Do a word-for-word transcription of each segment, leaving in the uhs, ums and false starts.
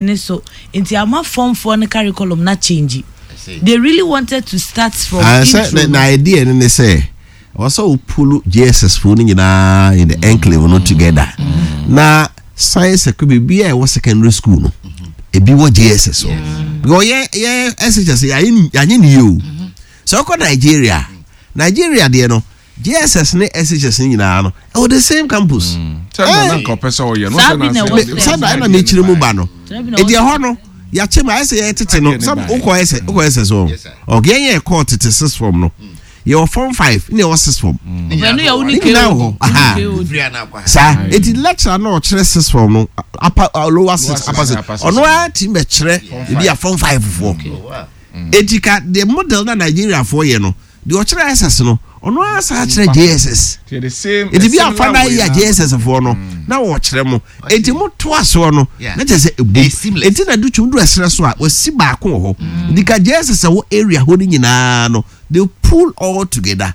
Ne so nti ama form four ne curriculum na change. They really wanted to start from Ah, sɛ intro. na na idea no ne sɛ ɔwɔ sɛ wopull J S S foɔ no nyinaa in the enclave no together na science ɛkɔ biribi a ɛwɔ secondary school no, ebi wɔ J S S hɔ, because yɛ yɛ S H S yɛayɛ yɛanyɛ ne yie o. Sɛ ɔkɔ Nigeria, Nigeria deɛ no, J S S ne S H S no nyinaa no ɛwɔ the same campus. Sɛ na na nka ɔpɛ sɛ ɔyɛ no. Saa sɛ bi na na ɛwɔ sɛ- sɛ- Sɛ na ɛna mekyerɛ mu ba no, Saa bi na ɛdi ɛwɔ ɛhɔ no yɛakyɛ mu ayɛ sɛ yɛtete no Adeɛ ne sɛ baeɛ. wokɔ ɛsɛ wokɔ ɛsɛ so. Yes, sir. Ɔkɛ yɛn yɛ kɔɔ tete six form no, yɛwɔ form five ne yɛwɔ six form. Ɔbɛn no yɛ wo ne Ne nyinaa wɔ hɔ. Aha. K O D. Free ana akɔ ha. Saa eti lecturer na ɔkyerɛ six form no, upper uh, lower six, six, upper six, upper six. ɔno ara ti bɛkyerɛ ebi a form five foɔ. Oh, wow. Eti ka the model na Nigeria foɔ yɛ no deɛ, ɔkyerɛ S S no, ɔno ara saa kyerɛ J S S. Nti the same Eti bi similar afa na way yi a na- J S S foɔ no na wɔkyerɛ mo, eti mo to asoɔ no Yeah. na kyerɛ sɛ ebu It's seamless. Eti na Adutwum du ɛsrɛ so a wɔsi baako wɔ hɔ nti ka J S S ɛwɔ area hɔ no nyinaa no, they pull all together.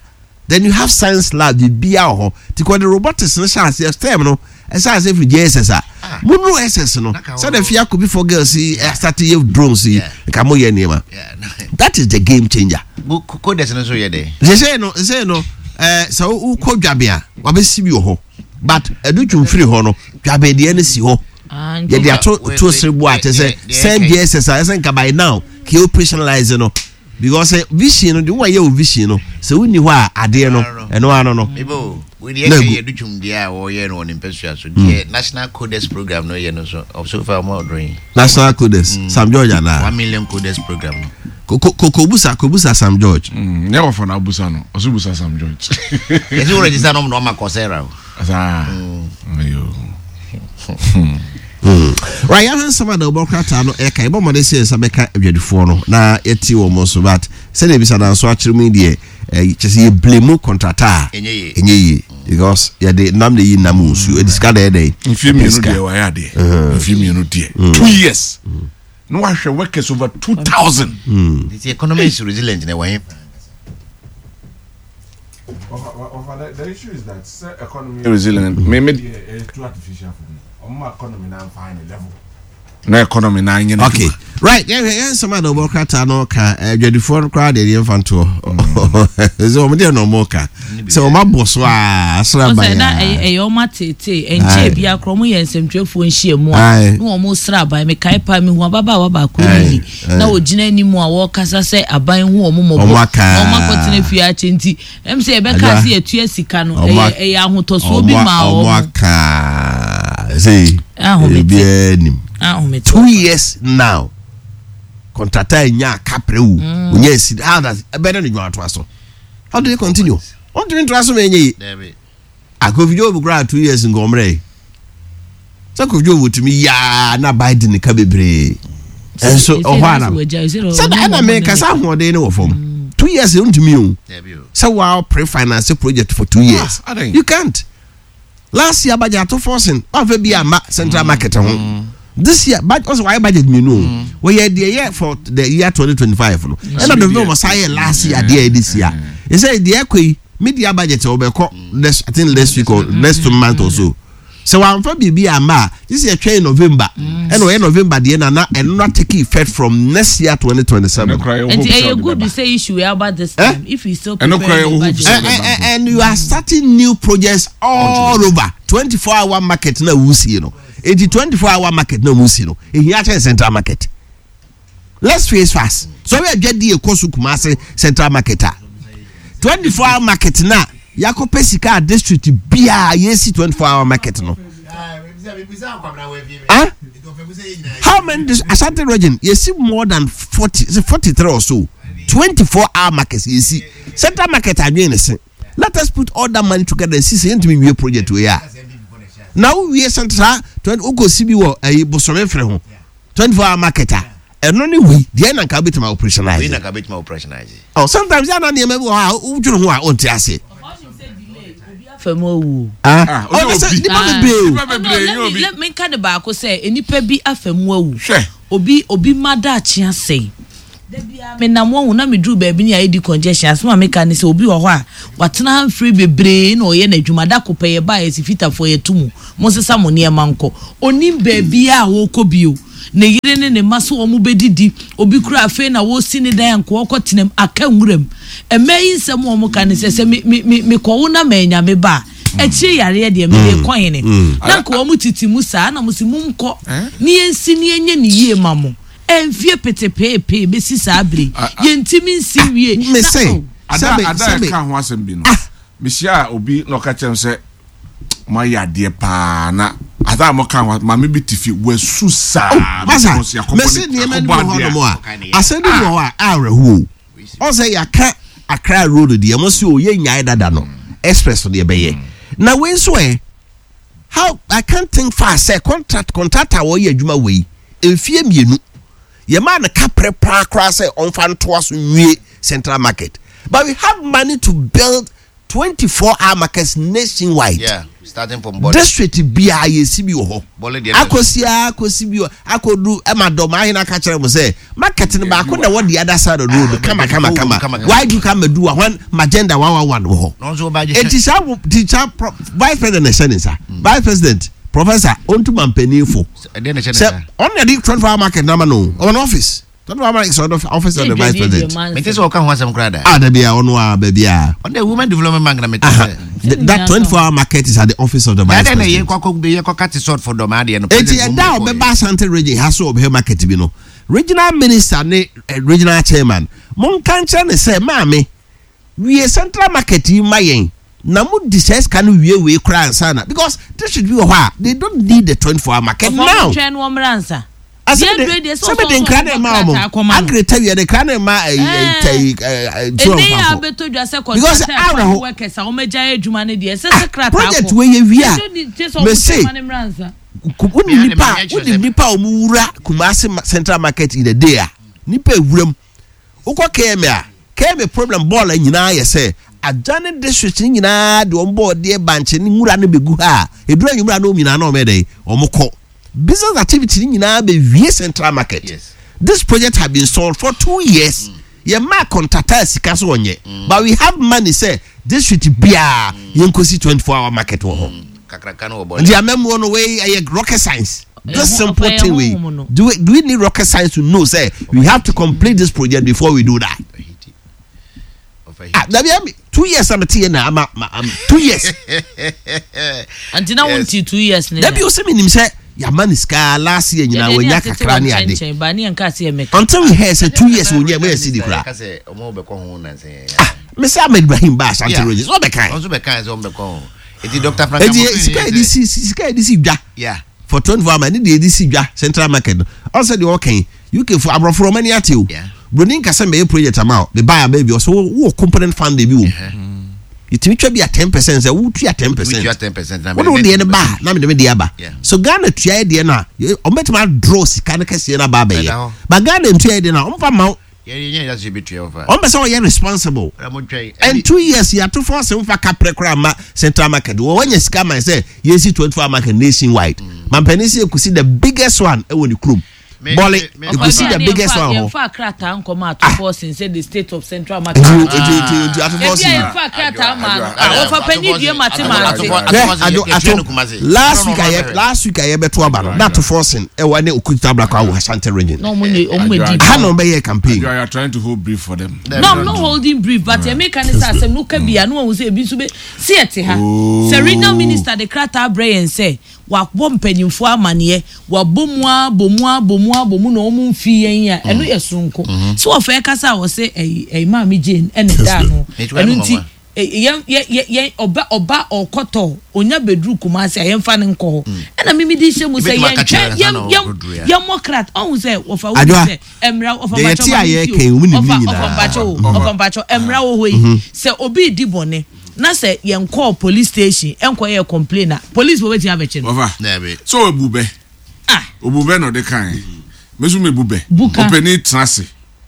Then you have science lab bibia wɔ hɔ. Ti kɔ de robotics no hyɛ aseɛ, STEM no ɛhyɛ aseɛ firi J S S a Ah. mo nu S S no Na ka sɛdeɛ wɔ- fia kobi for girls yi ɛstart yɛ drones yi Yeah. nka mo yɛ nneɛma. Yeah, no. That is the game changer. Bo- co- Coders no nso yɛ dɛ. Sɛsɛ no sɛsɛ no ɛɛ sɛ wokɔ Dwabe a, wabɛsi bi wɔ hɔ, but Adutwum firi hɔ no, Dwabe deɛ no si hɔ. Yɛde ato Wait, to wait, sere bu a kyɛ sɛ wait, same deɛ J S S a ɛsɛ nka by now kì í operationalize no, because eh, vision no de wɔn ayɛ o vision no sɛ wonni hɔ a adeɛ no ɛno ano no. Mebo, wei deɛ Na ɛka egu. yɛ Adutwum deɛ a wɔyɛ no wɔ ne mpɛsua so. Deɛ National Coders Program no yɛ no so, of so far ɔmo ɔdɔn yi. National Coders, Sam George ana? One million coders program no. Ko ko kobusa kobusa Sam George. Mm, nyɛ wɔfa na abusa no, ɔso busa Sam George. Yɛsɛ wo register no, ɔmo na ɔma Coursera o. Saa ayo. Right, yɛahwɛ nsɛm a na wɔbɔ krataa no ɛka yɛbɔ mmɔden sɛ yɛnsa bɛka adwadifoɔ no na yɛte wɔn mo so, but sɛdeɛ ebisa nanso akyerɛ mu yi deɛ, ɛɛ kyɛ sɛ yɛblame contractor a Ɛnyɛ yie. Ɛnyɛ yie, because yɛde nam na yi nam nsuo ɛde sika na ɛdɛ. Mfie mmienu deɛ wayɛ adeɛ, mfie mmienu deɛ, two years na wahwɛ workers over two thousand. The economy is resilient na ɛwɔ he? The issue is that sɛ economy resilient, me me deɛ, ɛyɛ too artificial for me. Ɔmo economy na nfa ne level na economy na nye ne. Okay, right, yɛhwɛ yɛn nsɛm a na wɔbɔ krataa no ka adwadifoɔ no koraa deɛ, yɛmfa ntoɔ sɛ wɔn deɛ na wɔn ka sɛ wɔn abɔ so a asra ban Ɔsɛ na ɛyɛ a ɛyɛ ɔmo atete nkyɛn bi akorɔ ɔmo yɛ nsɛmtwerɛfoɔ nhyia mu a Aye. na ɔmo sra aban. Mekae paa, mehu ababaawa baako Aye, yi aye. na ogyina anim a wɔrekasa sɛ aban hu ɔmo mmɔbɔ. Ɔmo aka. Na ɔmo akɔtena fie akyɛ nti ɛm sɛ yɛbɛka Adwa. sɛ yɛtua sika no, Ɔmo ɛyɛ ak- ɛyɛ ahotɔsoɔ bi ɔmo ma ɔmo ɔmo aka sɛ Ahomete. ebiara nim. Ahomete. Two years now, contractor nya kapre wu onya esi. How does ɛbɛn ne dwuma atoa so? How do they continue? Wɔn tumi ntoa so ma enye yi. Dabi. Kofi Job kura two years nkɔmrɛ yi sɛ Kofi Job tumi yaa na Biden ka bebree ɛnso ɔhɔ ana sɛ ɛna mɛ kasa ahoɔden ne wɔ fam. Two years ntumi o. Dabi o. Sɛ waa pre-finance project for two years, Ah, adan. you can't. Last year budget ato forcing wafɛ bi ama central market ho. This year budget ɔsɛ wayɛ budget mmienu o, wɔyɛ deɛ yɛ for the year twenty twenty five no, ɛna November wɔsan yɛ last year deɛ yɛ this year ɛsɛ deɛ ɛkɔ yi media budget ɔbɛkɔ next, I think next week or next two months or so. Sɛ wàmfa biribi ama a, this year twɛn November, ɛna ɔyɛ November deɛ na na ɛno na take effect from next year twenty twenty seven. Nti ɛyɛ good sɛ issue yɛ about this Eh? time if you still Ɛno koraa prepare yɛ the hope budget. sɛ- and, and, and you are starting new projects all over. Twenty four hour market na wusi no, eti twenty four hour market na wusi no ehia kyɛn central market. Let's face facts. So ɔbɛ adwa di ekɔ so Kumase central market a, twenty four hour market na yakɔpɛ sika a district biara yɛsi twenty four hour market no. Ah, how many dis Ashanti Region yɛsi more than forty, forty three or so twenty four hour markets. Yɛsi central market adwene ne se let us put all that money together and see sɛ yɛntumi wie project wei a na wowie central twenty wokɔ si bi wɔ ɛyi Bosome fere ho twenty four hour market a, ɛno ne wei deɛ na nka wobɛtumi Wei operationalize. na ka bɛtumi operationalize. Oh, sometimes yɛ ana nneɛma bi wɔ hɔ a wodwene ho a wonte ase. Fam awu. Ah, Ah, ɔno sɛ obi. nipa Ah. bebree o. Nipa bebree No, nye let me obi. let me nka ne baako sɛ nipa bi afa mu awu. Hwɛ. Obi obi ma daakye asɛe. Dabi menam wɔn ho na meduru baabi ne ayɛ di congestion. Asɛm a meka ne sɛ obi wɔ hɔ a watena ha mfiri bebree na ɔyɛ n'adwuma da ko pɛ yɛ ba yɛsi fitafoɔ yɛto mu mo nsesa mo nneɛma nkɔ onim baabi a wɔrekɔ bio. Ne yere ne ne mma so wɔn bɛdidi. Obi kura afei na wɔsi ne dan nko ɔkɔ tenam aka nwuram. Mmaa yi nsɛm a wɔn ka ne sɛ sɛ me me me mekɔwo na manya me ba a, akyire yareɛ deɛ mede kɔ hene? Na nka wɔn tete mu saa na mo si mo nkɔ ne yɛnsi ne yɛnyɛ ne yie ma mo. Ɛnfie petepeepee bɛsi saa bere yɛntumi nsi wie. Me sɛ ada sɛbe ada sɛbe ɛka ho asɛm bi no, mehyia obi na ɔka kyerɛ m sɛ moayɛ adeɛ paa, na ada a moka ho, maame bi te fie wasu saa. Masa because yɛakɔbɔ mɛsi ne- nneɛma bi yɛakɔbɔ wɔ hɔ adeɛ a- nom a asɛm bi wɔ hɔ a awerɛhoɔ o. Ɔsɛ yɛaka Accra road deɛ, mo si o, yɛ nyae dada no, express no yɛbɛyɛ na wei nso ɛ, how I can't think fast sɛ contract contractor a wɔyɛ adwuma wei mfie mmienu, yɛmaa no kaprɛ paa koraa sɛ ɔmfa ntoa so nwie Central Market, but we have money to build twenty four hour markets nationwide. Yeah, starting from Bole. District biara yɛsi bi wɔ hɔ. Bole deɛ. Akɔsi a akɔsi bi wɔ akɔdu ɛma dɔm ahene aka kyerɛ mo sɛ market no baako na ɛwɔ the other side of the road, kama kama kama. Kama, kama. Why do you come do when magenda one one one wɔ hɔ? Na ɔnso ɔba gye. Eti saa wo ti saa pro vice president na ɛhyɛ ne nsa, vice president Professor Ontuma mpanimfo. Ɛdeɛ na ɛhyɛ ne Sɛ nsa. ɔno na de twenty four hour market nama no, ɔwɔ no office, twenty four hour market is ɔno office of the vice president. Mente sɛ ɔka ho asɛm koraa da. Ah, dabi a, ɔno a baabi a Ɔno de Women Development Bank na mete aha sɛ. Th- that twenty four hour market is at the office of the vice Dada na yɛ president. kɔ akɔ yɛ kɔka te salt for dɔm adeɛ no. Eti President ɛda a mo ɔbɛba kɔɔ yɛ. Asante Region ha so ɔbɛhwɛ market bi no, regional minister ne eh, regional chairman, monka nkyerɛ ne sɛ maame wie Central Market yi ma yɛn na mo di sɛ sika no wie wei koraa ansa na, because district bi wɔ hɔ a they don't need the twenty four hour market now. Twɛn no wɔmmra nsa. Asɛ de sɛ de nkira na ɛma wɔn agreta wie de nkira na ɛma ɛyi ɛyi ɛyi ɛnɛ yɛ abɛtɔ dwa sɛ Because contractor awerɛho. Workers a wɔmɛgya adwuma no deɛ ɛsɛ sɛ krataa Project kɔ. wei yɛ wie a, Ɛsɛ sɛ mese ɔmo twɛn ma no mmra nsa. wodi nipa a wodi nipa a wɔn wura Kumasi ma- Central Market in a day a, nipa ewura mu. Wokɔ K M A a, K M A problem bɔɔl nyinaa yɛ sɛ adwane district ne nyinaa de wɔn bɔɔdeɛ, bankye ne nwura no bɛgu ha a, edura nwura no wɔn nyinaa na wɔn yɛ dɛ wɔn kɔ business activity ne nyinaa bɛ wie Central Market. Yes. This project have been sold for two years, yɛ maa contractor sika so wɔnyɛ, but we have money sɛ district biara yɛn kɔsi twenty four hour market wɔ hɔ. Kakraka no wɔ bɔle. Nti amemmuo no wei ɛyɛ rocket science? This Ɛho- simple ɔpɛ thing ɛho wei, honhom no. do we do we need rocket science to know say we have to complete this project before we do that? Ɔfa Ah, dabi, ami two years am ti yɛ na ama ma am two years. Nti na Yes. wonti two years ne. Dabi, o sɛ mi nim sɛ yama ne sika last year nyinaa, wɔnya kakra ne ade ba ne yɛnka se yɛ mɛka. Until we hear say two years wɔnya mo yɛ si di kura. Ka sɛ ɔmo bɛkɔ ho nansɛn. Ah, mɛ sɛ Ahmed Ibrahim ba Ashanti Yeah. Region so ɔbɛ kan. Ɔnso bɛka sɛ ɔmo bɛkɔ ho. Eti Doctor Frank Eti Amofi sika yɛ de si sika yɛ de si dwa Yeah. for twenty four hour ne deɛ yɛde si dwa Central Market no, ɔsɛ deɛ ɔkɛn U K fo aborɔfo ɔmani ate o. Yeah. Broni nkasa mbɛyɛ project ama o beba aba bi, ɔsɛ wo wɔ component fund bi wɔ mu, yɛtumi twa bi a ten percent sɛ wotua ten percent. Wotua ten percent na wode wo mede deɛ no ba a, na mede me deɛ aba. Yeah. So Ghana tua yɛ deɛ no a, yɛ- ɔmbɛtumi adraw sika no kɛseɛ no aba Ɛda abɛyɛ hɔ. but Ghana ntua yɛ deɛ no a, ɔmfa ma wo. Yɛ yɛ yɛ sɛ yɛbɛtua ɔfa. Ɔmpɛ sɛ ɔyɛ responsible. Ɔra mo twɛn. And two years yɛato fɔ sɛ mfa kaprɛ koraa ma Central Market wɔ wɔnya sika ma sɛ yɛsi twenty four hour market nationwide. Mampanin sɛ yɛkɔsi the biggest one ɛwɔ ne kurom Me- Bɔle. me- me- Yɛkɔsi the biggest one hɔ. Yɛmfa krataa nkɔma atofo sen sɛ the state of Central Market. Nti nti nti nti atofo Ebi si a yɛmfa krataa ma no a, wɔfa panyin due mate ma ate. Hwɛ, ado ato last week ayɛ last week ayɛ bɛto aba no na ato forcing ɛwɔ ne Okuta Ablakwa wɔ Ashanti Region. Na ɔmo nye ɔmo di. Ha na ɔbɛyɛ campaign. You are trying to hold brief for them. No, I'm not holding brief, but mm. Ɛmi ne sɛ asɛm no ka bia no wɔn sɛ ebi nso bɛ si ɛte ha sɛ regional minister de krataa brɛ yɛn sɛ wabɔ mpanyinfoɔ amaneɛ, wabɔ mu abɔ mu abɔ mu abɔ mu na wɔn mfi yɛn a, ɛno yɛ soronko so wɔfɛ kasa a wɔsɛ ɛyi ɛyi Maame Jane ɛna ɛda ano. Ɛno nti yɛn yɛn yɛn ɔba ɔba ɔkɔtɔ onya beduru Kumasi a, yɛnfa ne nkɔ hɔ ɛna mimi di hyɛ mu sɛ yɛn twɛn yɛn yɛn yɛn mɔ krat ɔhun sɛ wɔfa wo sɛ ɛmira ɔfa mpatsɔ ma mi ti o, ɔfa ɔfa mpatsɔ o, ɔfa mpatsɔ ɛmira wɔ hɔ yi sɛ obi di bɔne na sɛ yɛn kɔɔ police station ɛnkɔ yɛ complain a, police wɔ bɛtumi abɛkye no. Ɔfa so ebu bɛ obu bɛ na ɔde kan mesu mi bu bɛ ɔpɛni tena ase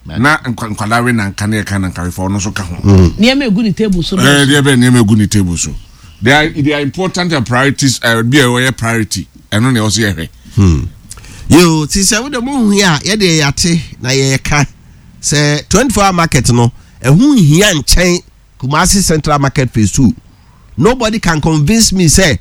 na nkwadaa we na nka ne yɛ ka na nkarefo ɔno nso ka ho. Nneɛma egu ne table so. Ɛɛ, deɛ bɛ nneɛma egu ne table so, they are they are important and priorities. Ɛɛ, bi a wɔyɛ priority, ɛno na ɛwɔ so yɛ hwɛ. Yo, ti sɛ wode mo hu a, yɛde yɛate na yɛka sɛ twenty four hour market no ɛho nhia nkyɛn Kumasi Central Market phase two. Nobody can convince me say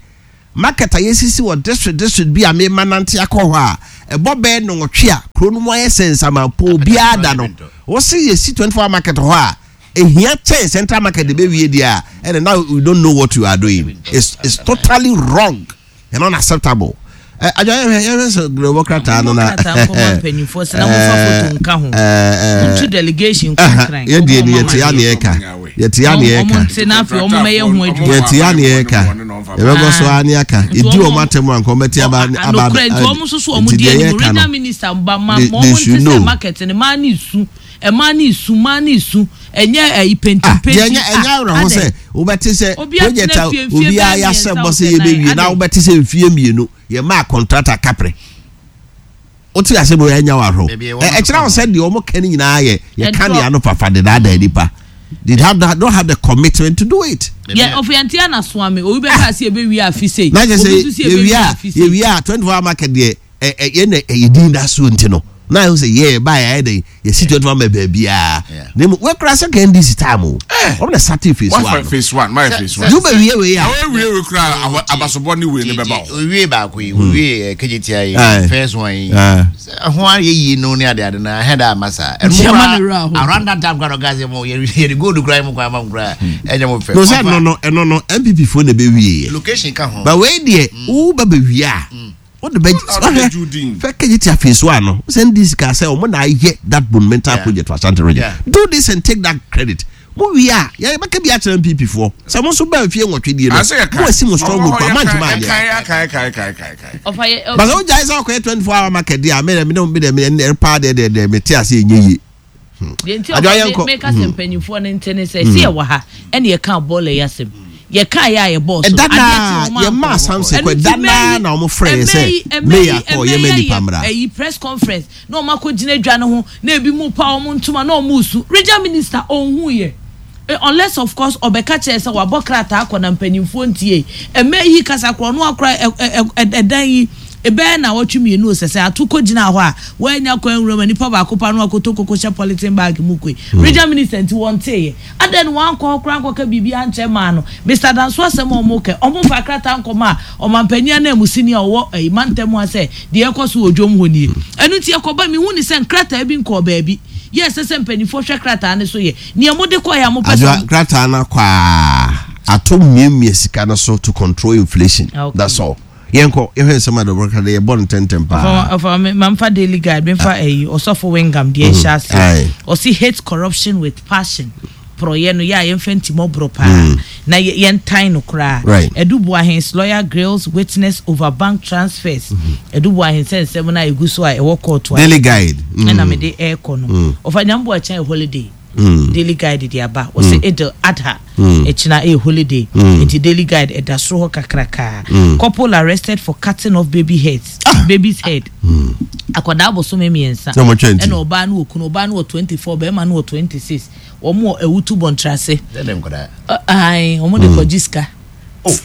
Market a yɛsisi wɔ district district bi a mema nante akɔ hɔ a, ɛbɔ bɛyɛ nnɔnwɔtwe a, kuro no mu ayɛ sɛ nsamanpo, obiara da no. Wɔse yɛsi twenty four hour market hɔ a, ehia kyɛn central market de bɛwie deɛ a, ɛnna now you don't know what you are doing. It's, it's totally wrong and unacceptable. Ɛ adwa yɛhwɛ yɛhwɛ sɛ grɛwɔ krataa no na. Krataa nkɔma mpanyinfoɔ sɛ na mofa foto nka ho. Montu delegation nkɔ Nkran. Yɛn deɛ ni yɛte ya ne yɛka. Yɛte ya ne yɛka. Ɔmo nte na afei ɔmo mɛyɛ ho adwuma. Yɛte ya ne yɛka. Yɛbɛkɔ so ara ne aka. Yɛdi wɔn atɛm a nka wɔn bɛte aba aba. Anokorɛ nti wɔn nso so wɔn di anim. Regional minister ba ma ma wɔn nte sɛ market no maa ne su. Ɛmaa ne su maa ne su. Ɛnyɛ ɛyi penti Ah, penti. deɛ ɛnyɛ ɛnyɛ awerɛho sɛ wobɛte sɛ Obi atena project a fie mfie obiara bɛyɛ yɛahyɛ mmiɛnsa bɔ sɛ wɔ sɛ yɛbɛwie nan, na adɛn? wobɛte sɛ mfie mmienu yɛmaa contractor kaprɛ. Wote asɛm wei ɛnyɛ wo awerɛho. Baabi a ɛwɔ Ɛ- no Ɛkyerɛ wo sɛ deɛ wɔn ka no nyinaa yɛ yɛka Ɛntorɔ. deɛ ano fafa de daadaa nipa. They have that, don't have the commitment to do it. Yɛ ɔfo yɛn ti anasoa me obi bɛka ase yɛbɛwie afi sei. Na kyerɛ sɛ Obi nso si yɛwie yɛbɛwie a afi sei. yɛwie a twenty four hour market deɛ ɛ ɛ yɛn na ɛyɛ din da so nti no na ayɛ sɛ yɛ ba yɛ ayɛ dɛ yɛsi twenty four hour baabiara Yeah. na emu wɛkura sɛ ka N D C time o, wɔn na start phase One one no. Phase one, my phase one. Ju bɛ wie wei a Awo ewie wei kura abasobɔ ne wei ne bɛba o. Owie baako yi, owie K G T I Aye. yi, first one yi. Aye. Sɛ ho ayɛ yie no ne ade ade na ahɛ da ama saa. Ɛno Nti mo ama ne werɛ aho. koraa around that time koraa na ɔka sɛ mo yɛde yɛde gold koraa mo kwan ama mo koraa ɛnyɛ mo fɛ. No sɛ Ɔfa ɛno no ɛno no N P P fo na bɛ wie yɛ location ka ho. But wei deɛ wo bɛ bɛ wie a wode bɛ Ɔde bɛ ju din. fɛ K G T I phase one no sɛ N D C ka sɛ ɔmo na ayɛ that monumental Yeah. project for Ashanti Region. Yeah. Do this and take that credit. Mo wie a yɛ bɛka bi akyerɛ N P P foɔ sɛ mo nso bɛn fie nwɔtwe die no Ase yɛ ka. mo asi mo strong group a mantuma anyɛ. Yɛ ka yɛ ka yɛ ka yɛ ka yɛ ka. Ɔfa yɛ But sɛ wogyae sɛ wokɔyɛ twenty-four hour market deɛ a, me dɛ me dɛ me dɛ paa deɛ deɛ deɛ mete ase ɛnyɛ yie. Deɛ nti Adwoa, ɔfa yɛnkɔ. me meka sɛ mpanyinfoɔ no nte ne sɛ si yɛwɔ ha ɛne yɛka bɔɔla yi asɛm yɛka yɛ a yɛbɔɔ so. Ɛda Adeɛ naa kye wɔn yɛmaa ankɔ. Samson Ɛno kɔ nti ɛda naa mɛyi- na ɔmo frɛ yɛ ɛmɛ sɛ yi- ɛmɛ mayor yi- kɔ ɛmɛ yɛma yi nipa yɛ mmra. ɛyi press conference na ɔmo akɔ gyina dwa no ho na ebi mu pa ɔmo ntoma na ɔmo su regional minister ɔnhu yɛ. Eh, unless of course ɔbɛka kyerɛ sɛ wabɔ krataa akɔ na mpanyinfoɔ ntie. Ɛmɛ yi kasa korɔ ɔno akora ɛ ɛ ɛ ɛdan yi ebɛyɛ na wɔtwe mmienu sɛ sɛ ato kɔ gyina hɔ a wɔanya kwan nwura mu nipa baako pa no akoto koko hyɛ polythene bag mu koe. Regional minister nti wɔn teeɛ adan wɔn ankɔ hɔ koraa nkɔka biribi ankyɛ maa no. Mister Danso asɛm a ɔmo kɛ ɔmo fa krataa nkɔmɔ a ɔmanpanyin ananmusini a ɔwɔ ɛyi mantam ha sɛ deɛ ɛkɔ so wɔ dwom hɔ nie. Ɛno nti ɛkɔba mi hu ni sɛ nkrataa bi nkɔɔ baabi yɛ ɛsɛ sɛ mpanyinfoɔ hwɛ krataa ne so yɛ nea mo de kɔ yɛ a mo pɛ Adwoa sɛ krataa no akɔ a ato mmiamia sika no so to control inflation. Okay. That's all. Yɛnkɔ yɛhwɛ nsɛm a dɔbɔ de yɛbɔ no ntɛntɛm paa. Ɔfa ɔfa mamfa Daily Guide, memfa ɛyi ɔsɔfo Wengam deɛ ɛhyɛ ase. Aye. Ɔsi "Hate corruption with passion." Porɔyɛ no yɛ a yɛmfa ntimɔborɔ paa na yɛ- yɛntan no koraa. Right. Adu Boahen's lawyer grills witness over bank transfers. Adu Boahen sɛ nsɛm no a ɛgu so a ɛwɔ court a Daily Guide. Mm. ɛna mede ɛrekɔ no. Ɔfa nyambo akyɛn yɛ holiday. Mm. Daily Guide de aba, wɔsɛ Eid Adha ɛkyina ɛyɛ holiday nti Daily Guide ɛda soro hɔ kakrakaa. Couple arrested for cutting off baby heads, baby's head. Akwadaa bosome mmiɛnsa Na wɔn twɛn ti. ɛna ɔbaa no wɔ kunu, ɔbaa no wɔ twenty four, bɛrima no wɔ twenty six. Wɔn wɔ Ewutu Bɔntrase. Sɛ nkwadaa. Ayi wɔn de kɔgye sika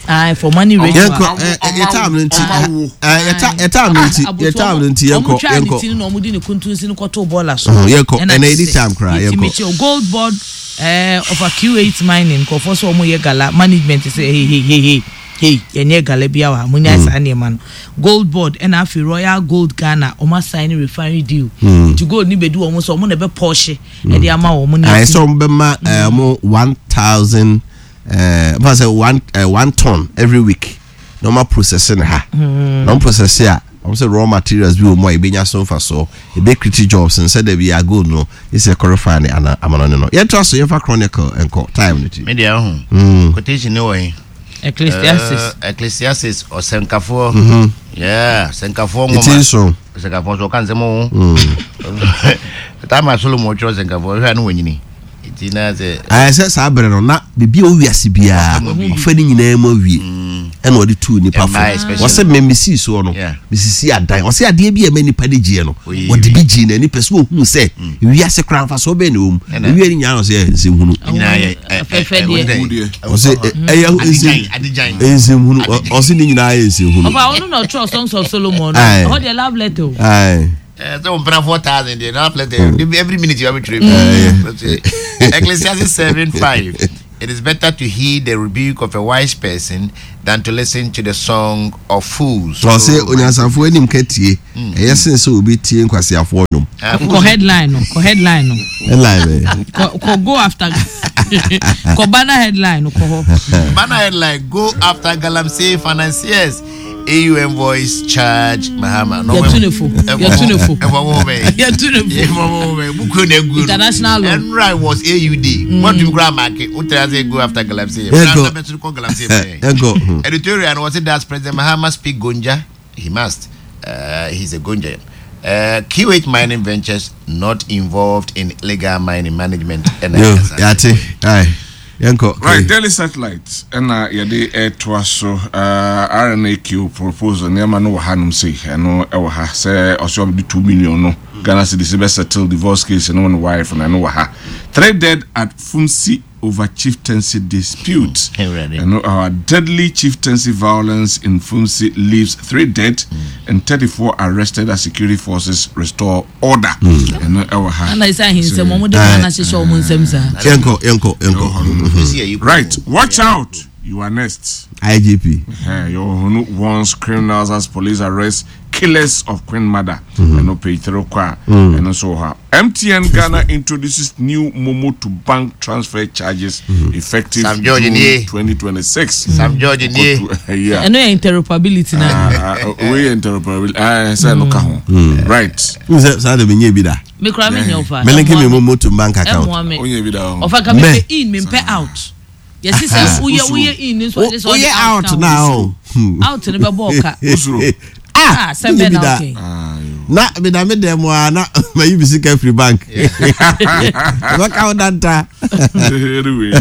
ayi for money ritual. Yɛnkɔ ɛ, ɛ, yɛ time no nti Ɔmo awo. ɛ, yɛ ta- yɛ time no nti yɛ time no nti yɛnkɔ ɔmo twa ne yɛnkɔ ti no na ɔmo de ne kuntunsi no kɔtoo bɔɔla so. Mhm, yɛnkɔ. Ɛna Ɛna kyerɛ ɛdi sɛ time koraa, yɛtumi yɛnkɔ. kye o. Gold Board ɛɛ ɔfa Q eight Mining nkurɔfoɔ sɛ ɔmo yɛ gala, management sɛ hey hey hey hey hey, yɛnyɛ gala bi awa mo nya saa nneɛma no. Gold Board ɛna afei Royal Gold Ghana ɔmo asign refinery deal nti gold ni bɛdi wɔn so, ɔmo na ɛbɛ pɔɔhye ɛde ama wɔn ne ayɛ eti- sɛ ɔmo bɛma ɛ, ɔmo one thousand ɛɛ ɔmo sɛ one ɛ, one ton every week na ɔmo process ne ha na ɔmo process a ɔmo sɛ raw materials bi wɔ mu a ebenya so nfa so ebe create jobs nsɛ dɛ bi a gold no esi ɛkɔrɔ ne ana amana ne no. Yɛntoa so, yɛmfa Chronicle nkɔ time no ti. Me deɛ ɔho. Quotation ne wɔ yi. Ecclesiastes. Eh, Ecclesiastes ɔsɛnkafoɔ. Yeah, ɔsɛnkafoɔ Eti nwoma. nson. Ɔsɛnkafoɔ nso ɔka nsɛm o. Taama Solomon ɔtwerɛ ɔsɛnkafoɔ hwɛ a ne wɔnyini. Nti na sɛ Ayɛ sɛ saa bere no na biribi a ɔwi ase biara ɔfa ne nyinaa mu awie ɛna ɔde tuu nipa fo. Mmaa especially. Wɔsɛ mɛ mesii soɔ no Yeah. mesisi adan, ɔsɛ adeɛ bi a ɛma nipa de gyeɛ no Oyi ɔde wie. bi gyee n'ani pɛ sɛ ɔhunu sɛ wiase koraa mfa so ɔbɛn na ɛwɔ mu. Ɛna- Ewie ne nyinaa ɔsɛ ɛ nsɛmhunu. Nyinaa yɛ ɛ- ɛ- Afɛfɛ ɛ- deɛ. wɔde dɛn? Ɔsɛ ɛ- ɛyɛ Adigyan, nsɛm adigyan. nsɛmhunu. Ɔ- ɔsɛ ne nyinaa yɛ nsɛmhunu. Ɔfa ɔno na ɔtwerɛ Songs of Solomon no. Aye. Ɛhɔ deɛ love letter o. Aye. Eh, sɛ wo mpena four thousand deɛ na letter every minute you abɛtwerɛ bi. Ecclesiastes seven five. It is better to heed the rebuke of a wise person than to listen to the song of fools. Ɔsɛ onyansafo anim ka tie ɛyɛ sen sɛ obi tie nkwasiafoɔ nnwom. Ah, Kɔ headline no, kɔ headline no. Headline bɛyɛ. Kɔ kɔ go after kɔ banner headline no kɔ hɔ. Banner headline: Go after Galamsey financiers. A U envoys charge Mahama. No, Yɛtu ne fo. Yɛtu ne fo. Yɛtu ne fo. International law. Enra was A U D. What do you grab market? What does it go after Galamsey? Yɛnkɔ. Galamsey. Yɛnkɔ. Editorial was it, does President Mahama speak Gonja? He must. Uh, he's a Gonja. Uh, Q eight Mining Ventures not involved in illegal mining management. And Yo, yate. Aye. Yɛnkɔ. Right, Daily Satellite ɛna yɛde ɛtoa so uh, R N A Q proposal nneɛma no wɔ hanom sei. Ɛno ɛwɔ ha sɛ ɔsɛ ɔbɛde two million no Ghana cedis bɛ settle divorce case no ne wife no. Ɛno wɔ ha. Three dead at Funsi over chieftaincy dispute. Awurade. Ɛno uh, deadly chieftaincy violence in Funsi leaves three dead and thirty-four arrested as security forces restore order. Ɛno ɛwɔ ha. Ana sɛ ahensɛm ɔmo de maa na hyehyɛ ɔmo nsɛm saa. Yɛnkɔ, yɛnkɔ, yɛnkɔ. Right, watch out, you are next. I G P. Uh, Yohunu warns criminals as police arrest killers of Queen Mother. And no page three kwa. And also her. M T N Ghana introduces new Momo to bank transfer charges effective Sam George June nie. twenty twenty-six. Sam George nie. Yeah. Ɛno yɛ interoperability na. Uh, uh, we interoperability. Ah, say no ka ho. Right. N sɛ saa de mi nye bi da. Me kura me nyɛ ɔfa. Me link mi momo to bank account. Ɛmoa me. Onye bi da ho. Ɔfa ka me Me. pɛ in, me mpɛ out. Yɛsi sɛ woyɛ woyɛ in nso ɔde sɛ ɔde Woyɛ out ka ho. Now. Hmm. Out ne bɛ bɔ ɔka. Usuro. Ah, Ah, sɛ menye bɛ bi na da. okay. Ah, yo. Na meda me dɛm mu a na mayi mi sika firi bank. Ɛbɛka wo danta. Anyway.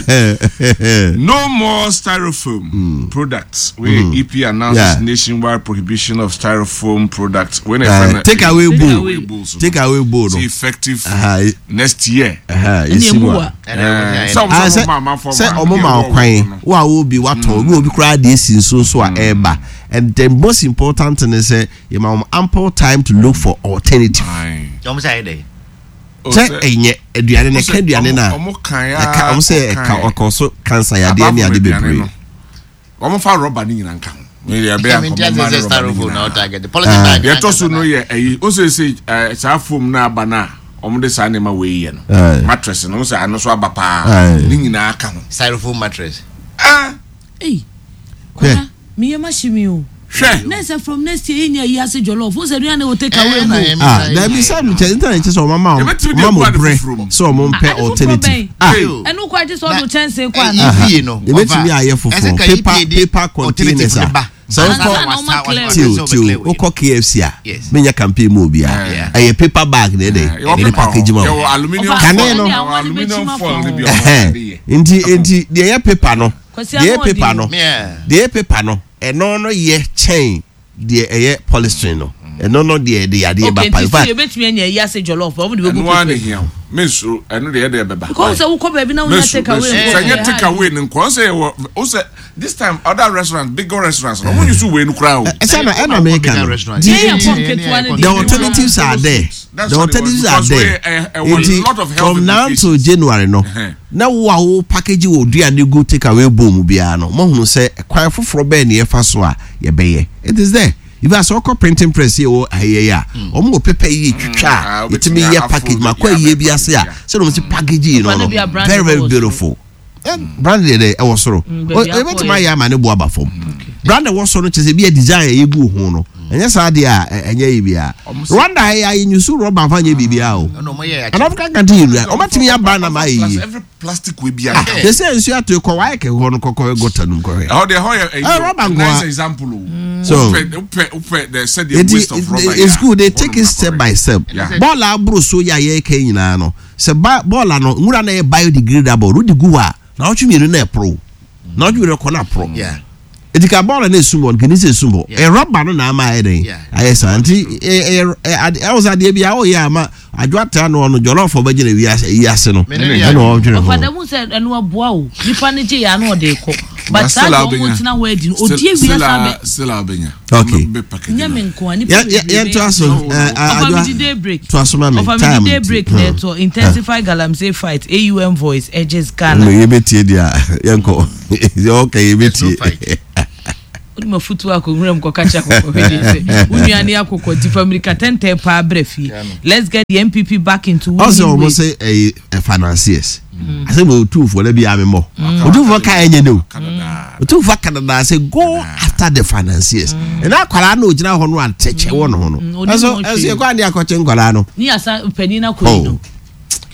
No more styrofoam products. Where E P announces Yeah. nationwide prohibition of styrofoam products. When Uh, take away Take bowl. away. Bowls. Take away bowl no. It's effective Aha, next year. aha, Ɛne esi emu mu wa. a. Eh, sɛ Ah, ɔmo sɛ ma amanfoɔ sɛ ma- ɔmo ma yɛ wɔ ɔkwan no. wo a wo bi watɔn obi obi koraa deɛ esi nsuo so a ɛɛba, and the most important thing is sɛ yɛ ma wɔn ample time to look for alternative. Aye. Ɔmo sɛ ayɛ dɛ. Oh, Sɛ sɛ- ɛnyɛ aduane na sɛ ɛka aduane ɔmo- na ɔmo kan ɛka ɔmo sɛ ɛka ɔkɔ so cancer yadeɛ ne Apart ade from aduane bebree. no, ɔmo fa rɔba ne nyinaa nka ho. Ne deɛ ɛbɛyɛ Ɛmi anka nti ɔmo ase ma sɛ ne rɔba ne styrofoam na nyinaa. ɔtarget. Polythene bag. Deɛ ɛtɔ so no yɛ ɛyi o sɛ sɛ ɛɛ saa foam na aba na ɔmo de saa nneɛma wei yɛ no, Aye. mattress no, ɔmo sɛ ano so aba paa, Aye. ne nyinaa ka ho. Styrofoam mattress. Ah, Ei. Kɔla meyɛ ma hye mi o. hwɛ. Ne sɛ from next year yɛnya yi ase jollof wo sɛ aduane wo take away Eh, mu. na ɛmi Ah, sa- dabi, sɛ nkyɛn ntina nkyɛn sɛ ɔmo ama Yɛbɛtumi de ɔmo ama agu ade brɛ foforɔ mu. sɛ ɔmo mpɛ Ade foforɔ alternative. bɛn? Ah, Hey. Ɛno kɔ agye sɛ ɔde wo kyɛnsee kɔ Eh, ana. E P A no. Yɛbɛtumi ayɛ Ɛsɛ foforɔ ka paper E P A de paper containers alternative a no ba. sɛ Ansa wokɔ na ɔma clear. tio tio wokɔ K F C a, Yes. menya campaign mu obiara, Yeah. ɛyɛ paper bag na ɛdɛ Yɛwɔ ɛde paper package ma hɔ. wo. Yɛwɔ aluminium Ɔfa- Kane foil. no. Yɛwɔ aluminium foil ne bi a ɔmo Ɛhɛn. de yɛ. nti nti deɛ ɛyɛ paper no, Kwasi deɛ ɛyɛ ano paper ɔdi no, Yeah. deɛ ɛyɛ paper no, ɛno no yɛ kyɛn deɛ ɛyɛ polystyrene no. Ɛno no deɛ ɛde yadeɛ ba Okay, pa. nti In fact, so yɛbɛtumi anya yi ase jollof ɔmo de bɛgu Ɛno ara na paper. ehia o. Mensuro, ɛno deɛ ɛde ɛbɛba. Because sɛ wokɔ baabi na wonya Mesu, take away mesu. nkɔ Sɛ nyɛ yɛ take hard. away ne nkɔ sɛ yɛwɔ o sɛ this time other restaurants, bigger restaurants, ɔmo use wei no koraa o. Ɛsɛ na ɛna meka no. Restaurant. Di- Yɛn yɛ pɔn ketewa ne the deɛ. alternatives are there. That's The what it was, alternatives are because there. we, eh, eh, wɔ Nti lot of health from now to implications. January no, Ɛhɛn. na wo a wo package wɔ aduane gu take away bowl mu biara no, mo hunu sɛ kwan foforɔ bɛɛ ne yɛfa so a yɛbɛyɛ. It is there. If asɛ ɔkɔ printing press yɛ wɔ ayɛ yi a, wɔn wɔ paper yi twitwa Ah, a wobɛtumi yɛtumi yɛ afold package ma kɔ yeah, ayie bi ase a yeah. sɛ wɔn ti package yi no Papa no no bi a brand very very ɛwɔ soro. beautiful. Eh, brand deɛ dɛ ɛwɔ soro. Mm, baabi O- akɔ ebɛtumi yɛ. ayɛ ama ne bo aba fam. Brand ɛwɔ soro no kyerɛ sɛ bi yɛ design a yɛgu ho no, ɛnyɛ saa deɛ a ɛ- ɛnyɛ yi bia. Ɔmo sɛ- Rwanda yɛ ayɛ nyusu rɔba nfa nyɛ biribiara o. Ɛna ɔmo yɛ An African country yi nua ɔmatumi yɛ brand ama ayɛ yie. Every plastic wei bi Ah, a. they say nsuo ato kɔ wayɛ kɛ hɔ no kɔkɔ gɔta no mu kɔhwɛ. Ɛhɔ deɛ, ɛhɔ yɛ Eh, ɛyi rubber nko nice a. example o. So- wopɛ wopɛ wopɛ the sɛ the Eti waste of rubber. it's good they Hɔ take nom it step na by step. Yeah. Bɔɔla aburo so yɛ a yɛreka nyinaa no sɛ ba bɔɔla no nwura na yɛ biodegradable no de gu hɔ a na ɔtwe mmienu na ɛporo na ɔtwe mmienu kɔ na aporo. Yeah. Eti ka bɔɔla na esum hɔ no kìíní sɛ esum hɔ Yeah. ɛ rɔba no na ama ayɛ dɛ Yeah. ayɛ saa. Nti ɛ ɛ ɛ ade ɛwɔ sɛ adeɛ bi a ɔyɛ ama adwo ata no ɔno jɔlɔfo bɛgyina wi ase yi ase no Me ne ɛna ɔdwene ho. Ɔfa dɛm sɛ ɛno aboa o, nipa ne gye yɛ ano ɔde kɔ But saa deɛ ɔmo tena hɔ adi no odi awia saa bɛ. Still abenya. Okay. Nyɛ me nko a nipa bebree. Yɛn to aso. Ɔfa mi di day break. To aso ma mi. Ɔfa mi di day break na ɛtɔ intensify galamsey fight A U M voice urges Ghana. Yɛ bɛ tie di a yɛn kɔ yɛ ɔkɛ yɛ bɛ tie. Wode ma futuo akɔ nwura mu kɔka kyerɛ akɔkɔ hwɛ deɛ sɛ wo nua ne akɔkɔ nti fa mmirika tɛntɛn paa brɛ fie. Let's get the N P P back into winning Ɔsɛ wɔn ways. Sɛ ɛyɛ financiers asɛ mo otumfoɔ na bi a mi mɔ otumfoɔ ka ɛnyɛ ne o otumfoɔ Canada sɛ go after the financiers ɛna akwaraa na ogyina hɔ no atɛkyɛ wɔ ne ho no. Mm, ɔnim Ɛso ho ɛso hwee. yɛ kɔ adi akɔkye nkwaraa no. Ne yasa panin no akɔ yi no.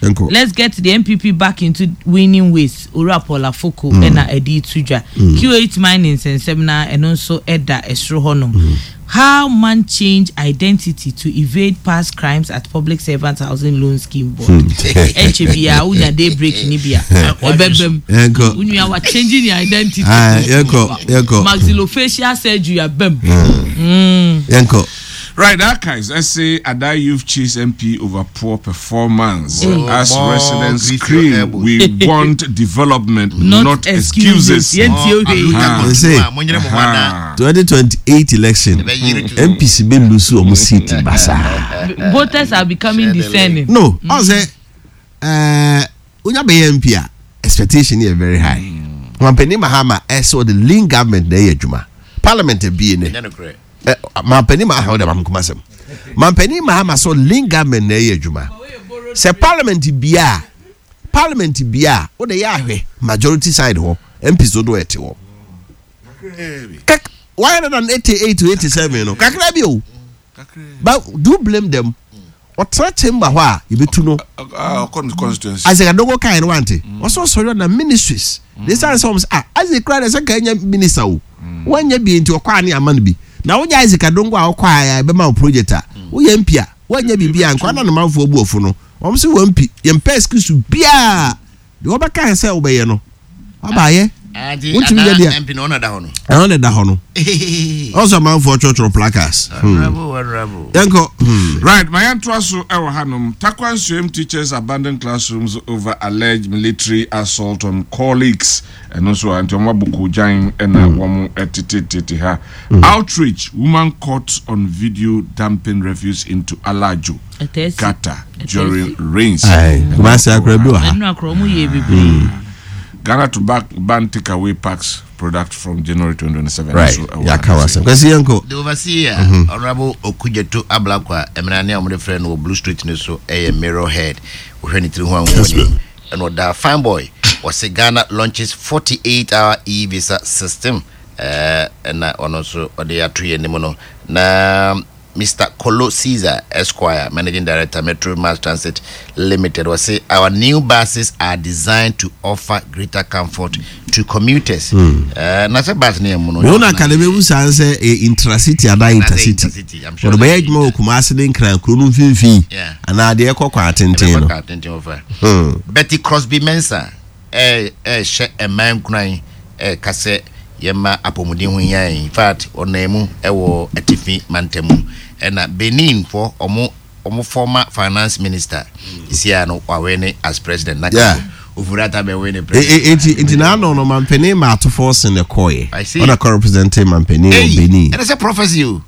Nkɔ. Let's get the N P P back into winning ways. Owura Paul Afoko ɛna ɛde to dwa. Q eight mining nsɛnsɛm na ɛno nso ɛda ɛsoro hɔnom. How man change identity to evade past crimes at Public Servant Housing Loan Scheme Board. Ɛnkyɛ bia wonya day break ni bia ɛbɛbɛm. Yɛnkɔ. Wo nua wa changing your identity. Ah, yɛnkɔ, yɛnkɔ. Maxillofacial surgery abɛm. Yɛnkɔ. Right, archives. I say Ada Youth chase M P over poor performance. Mm. As More residents grease your scream, elbows. we want development, not, Not excuses. excuses. Yɛntie hwee. Ah. They say Monyere mo ho ana. twenty twenty-eight election Ɛbɛyere tu. N P C bɛ lose ɔmo seat basaa. Voters are becoming Share the discerning. No, ɔsɛ ɛɛ onya bɛyɛ M P a expectation yɛ very high. Mampanin Mahama ɛsɛ ɔde lean government na ɛyɛ adwuma, parliament ebie ne. Ɛnyɛ nokorɛ. Ɛ mampanin Mahama ɔde maame kuma sɛm mampanin Mahama sɛ lean government na ɛyɛ adwuma sɛ parliament bia parliament bia o de yɛ ahwɛ majority side hɔ M Ps dodo ɛte hɔ kak one hundred and eighty eight to eighty seven no kakra bi o, but do you blame them? Ɔtena chamber hɔ a yɛbɛtu no. Ah, ɔkɔ ne constituency. Isaac Adongo kan no wante ɔsɔ sɔrɔ na ministries de san sɛ ɔmo sɛ, ah, Isaac kura de sɛ nka nya minister o wanya bi nti ɔkɔ ani ama no bi na wonya Isaac Adongo a ɔkɔ a ɛbɛma wo project a woyɛ M P a wanya biribi a nkwa na ne manfoɔ bu ɔfo no wɔn sɛ wɔn M P yɛn pɛ excuse biaa deɛ wɔbɛka sɛ wobɛyɛ no wabaayɛ. Ati Wontumi nyɛ Ada deɛ. M P na ɔna da hɔ no. Ɛno na ɛda hɔ no ɔsɔ amanfoɔ twerɛtwerɛ placards Hmm. Honorable, honorable. Yɛnkɔ hmm. Right, Mayantoa so ɛwɔ hanom. Tarkwa Nsuaem teachers abandon classrooms over alleged military assault on colleagues. Ɛno nso a nti wɔn abɔ kogyan ɛna wɔn ɛtetetete ha. Outrage: woman caught on video dumping refuse into Alajo Ɛtɛsi. gutter during rains. Aye, Kumasi akora bi wɔ ha. Ɛnu akora ɔmo yɛ bebree. Ghana to back ban takeaway packs product from January twenty twenty-seven. Right. So, ɛwɔ Yɛaka ha. wɔ asɛm kwasi yɛnkɔ. The overseer, Honorable Okudzeto Ablakwa, ɛmena ne a wɔde frɛ no wɔ Blue Street no so ɛyɛ Mirror Head. Wohwɛ ne tiri ho a Yes, wohu ma'am. ɛna ɔda fine boy. Wɔse Ghana launches forty-eight hour e-visa system. Ɛɛ, ɛna ɔno nso ɔde ato yɛn anim no. Na Mister Kolo Caesar Esquire, Managing Director, Metro Mass Transit Limited, wɔse our new buses are designed to offer greater comfort to commuters. Ɛɛ, na sɛ bus ne yɛ mu no. Mewo na ka de bɛbu saa sɛ eh, intracity anaa Anaasɛ intercity. Intercity, I'm sure Wɔde bɛyɛ sɛ adwuma wɔ Kumase ne Nkran kuro no mfimfini Yeah. anaa deɛ ɛkɔ kwan atenten no. Ɛbɛkɔ atenten wɔ fa. Hmm. Betty Crosby Mensah ɛ ɛhyɛ ɛman nkuran ɛka sɛ yɛma apɔmuden ho hia yɛn. In fact, ɔnan mu ɛwɔ atifi mantam mu ɛna Benin fo ɔmo ɔmo former finance minister isia no wawɛ ne as president na Yeah. Ofurata bɛwɛ ne E- president. e- enti enti n'ano no mampanin ma Ato Forson ne kɔɛ. I see. Ɔna kɔ represent mampanin wɔ Hey, Benin. ɛnɛ sɛ prophecy o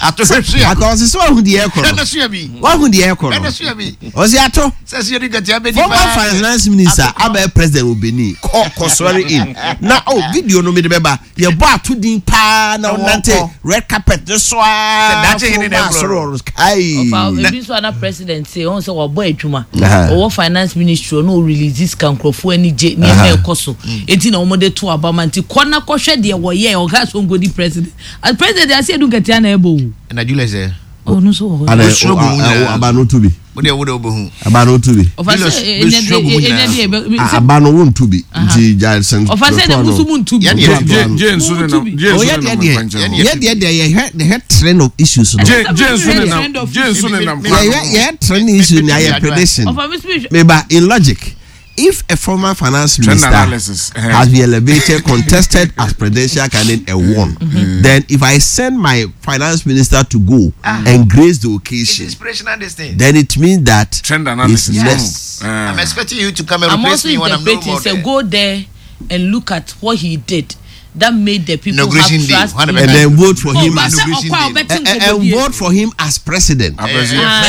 ato hwɛ sua. Aka ɔsi sɛ wahu deɛ ɛkɔ no. Ɛnɛ sua bi. Wahu deɛ ɛkɔ no. Ɛnɛ sua bi. Ɔsi ato sɛ sua ni gàtí abɛdi. Former finance minister abɛɛ president wɔ Benin kɔ kɔ swear in na oh video no mi de bɛba yɛ bɔ ato din paa na Na ɔnante wɔkɔ. red carpet ne so aa. Sɛ daakye hene na ɛkorɔ no. Soro kai. Ɔfa ebi nso ana president say ɔn sɛ wabɔ adwuma. Aha. Ɔwɔ finance ministry ɔno ɔrelease sika nkurɔfoɔ ani gye nneɛma ɛkɔ so eti na wɔn de to aba ma nti kɔ na kɔhwɛ deɛ wɔyɛ ɔka so nkɔdi president as president ase Edu Nketea na ɛbɔ o. Ɛna Julius ɛ. Ɔno nso wɔ hɔ. Ana Osuro gu mu nyinaa. aba no tu bi. O de o de o bɛ hu. Aba no tu bi. Ɔfa sɛ Julius, ɛnyɛ bɛsua gu mu de ɛnyɛ nyinaa. de ɛbɛ Ah, aba no wontu bi nti gya sɛn. Ɔfa sɛ na musu mu ntu bi. Yɛne Yɛ- Jane Jane nso Mu nenam tu bi. Jane nso Oyɛ deɛ nenam deɛ nkwankyɛn hɔ. yɛ deɛ deɛ yɛhwɛ yɛhwɛ trend of issues no. Jane Jane nso Trend nenam of Jane nso issues. nenam kwan Yɛhwɛ ho. yɛhwɛ trend issue ni ayɛ prediction. Ɔfa mi speech. Meba in logic, if a former finance Trend minister analysis, eh. has been elevated, contested as presidential candidate and won, then if I send my finance minister to go and grace the It's occasion, inspirational, this thing. then it means that Trend analysis. it's less. Mm. I'm expecting you to come and I'm replace also me when I'm no interpreting more say there. go there. and look at what he did that made the people have Inauguration day, trust hwan in na And him. then vote for Oh, him but as sɛ Inauguration ɔkɔ a day. ɔbɛte and, and nkɔmmɔdie. vote for him as president. Ah.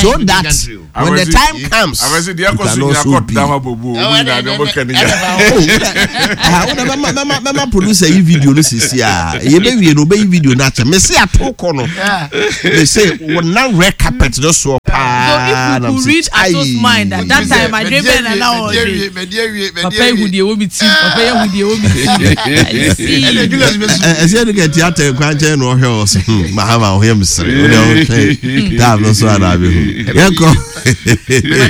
So that when the time comes, Abɛsi deɛ you ɛkɔ so can nyina also kɔ be. dama bobo omu nyinaa deɛ ɔbɛka ne nyinaa. Oh, ah, wo na mɛma mɛma mɛma producer yi video no sisi a yɛbɛwie no ɔbɛyi video no akyɛ mese ato kɔ no mese wɔnam red carpet no soɔ So paa if na we mese, could read Ato's "Aye." mind at that time, I dream better now. Papa ehu deɛ ɛwɔ mi ti. Papa ehu deɛ ɛwɔ mi ti. I see. Ɛ- ɛsɛ ɛde ka theatre kwan kyɛn na ɔhwɛ wɔ so hmm, Mahama ɔhwɛ m sere wode ɔhwɛ time no so ana abɛhu yɛnkɔ.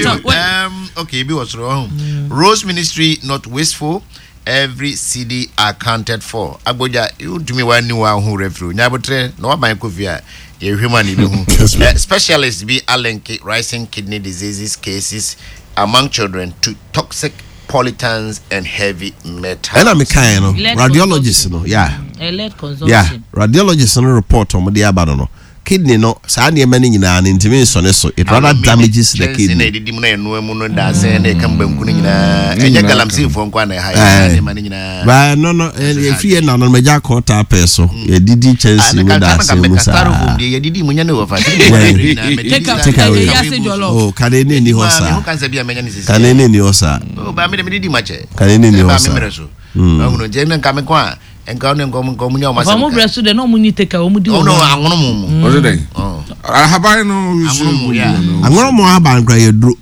But, what- Um, okay, bi was wrong. Rose Ministry not wasteful. Every cedi accounted for. Agboja, you to me one new one who referee. Nyabotre, no one kofi a yɛhwɛ mu a ne bɛhu. Eh, Specialists be alenke rising kidney diseases cases among children to toxic pollutants and heavy metals. Ɛna mekaeɛ no, Lead radiologist no, yeah. Eh, lead Yeah, consumption. radiologist no report ɔmo de aba no no kidney no, saa nneɛma no nyinaa no ntumi nsɔne so, it rather damages the kyɛnse na kidney. ɛdidi mu na ɛnoa mu no daasɛn na ɛka banku no nyinaa, ɛnyɛ galamseyfoɔ nko a na ɛha yɛ saa Eh. nneɛma no nyinaa. Baa no no ɛfiri yɛ nanom agya kɔɔta apɛ so yɛdidi kyɛnse mu daasɛn mu saa. Styrofoam deɛ yɛdidi mu nyɛ ne wɔfa. Take a- Take away. eh, yase jollof. Oh, kane ne ni hɔ saa, Cancer bi a mɛnya ne sisi. kane ne ni hɔ saa. Oh, ba mi de mi didi ma kyɛ. Kane ne ni hɔ Ba saa. mi mmerɛ so. Ɔhunu nti ɛnna nka mi kɔ a nka ɔne nkɔm nkɔm nya ɔmo Ɔfa asɛm mo ka. brɛ so de na ɔmo ni take away, ɔmo di Ɔno wɔn. anwono mu mu. Ɔsɛ dɛn? Ɔ. Ahaban no. Anwono mu, yeah. Anwɔrɔ mu ahaban kora yɛ duro.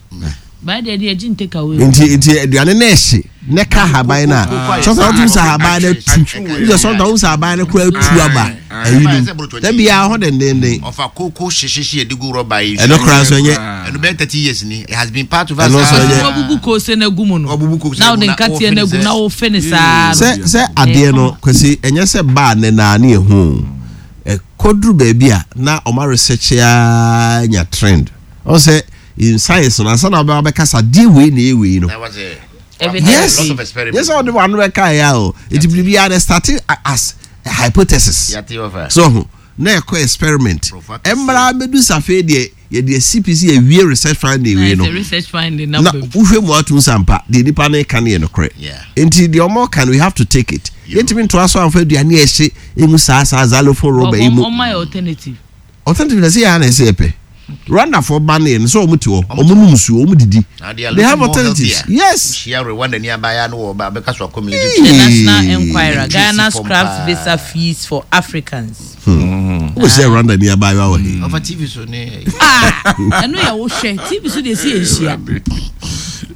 Baa deɛ deɛ gye take away. Nti nti aduane no ɛhye ne ka ahaban no a sɔsɔ wotum sɛ ahaban no atu wosɛ sɔsɔ wotum sɛ ahaban no kora atu aba ayi no da biara hɔ dendenden. Ɔfa koko hyehyehye yɛde gu rɔba yi. Ɛno koraa nso ɛnyɛ. Ɛno bɛyɛ thirty years ni. It has been part of us. Ɛno nso ɛnyɛ. Wabubu koose na egu mu no. Wabubu koose Na na egu ɔde na nkateɛ na egu wɔfɛ ne na wɔfɛ ne saa no. Sɛ sɛ adeɛ no, Kwasi, ɛnyɛ sɛ baa ne naa ne ɛho ɛkɔduru baabi a na ɔma research a nya trend ɔn sɛ in science no ansa na ɔbɛba bɛkasa deɛ wei na ɛwei wei no. Na was a Evidence. Yes. lot of experiment. Yes, ɔde wano bɛka yɛ o, nti biribiara de start as a hypothesis. Yate ɔfa. So ho na ɛkɔ experiment. Nkurɔfoɔ akɛseɛ. Ɛmmra bɛdu safe deɛ yɛde C P C awie research finding Na wei no ɛsɛ research finding na na bɛm. wohwɛ mu atum sampa deɛ nipa no ka no yɛ nokorɛ. Yeah. Nti deɛ ɔmo ka no, we have to take it. Yɛntumi ntoa so amfa aduane a ɛhye emu saa saa xylophone rɔba yi mu. Ɔmo ayɛ alternative. Alternative na sɛ yɛ a na ɛsɛ yɛpɛ Rwandafoɔ ba no yɛ no sɛ ɔmo te hɔ, ɔmo nom nsuo, ɔmo didi. Now they are They have looking more alternatives. healthier. Yes. Hyia Rwanda ni abaya no wɔ ba bɛka so akɔ military. The Hey. National Enquirer, Ghana From scraps pa. visa fees for Africans. Wọ́n sɛ Rwanda ni abaayewa wɔ he? Ɔfa T V so ne. Ah, ɛno yɛ wohwɛ T V so de esi ehyia.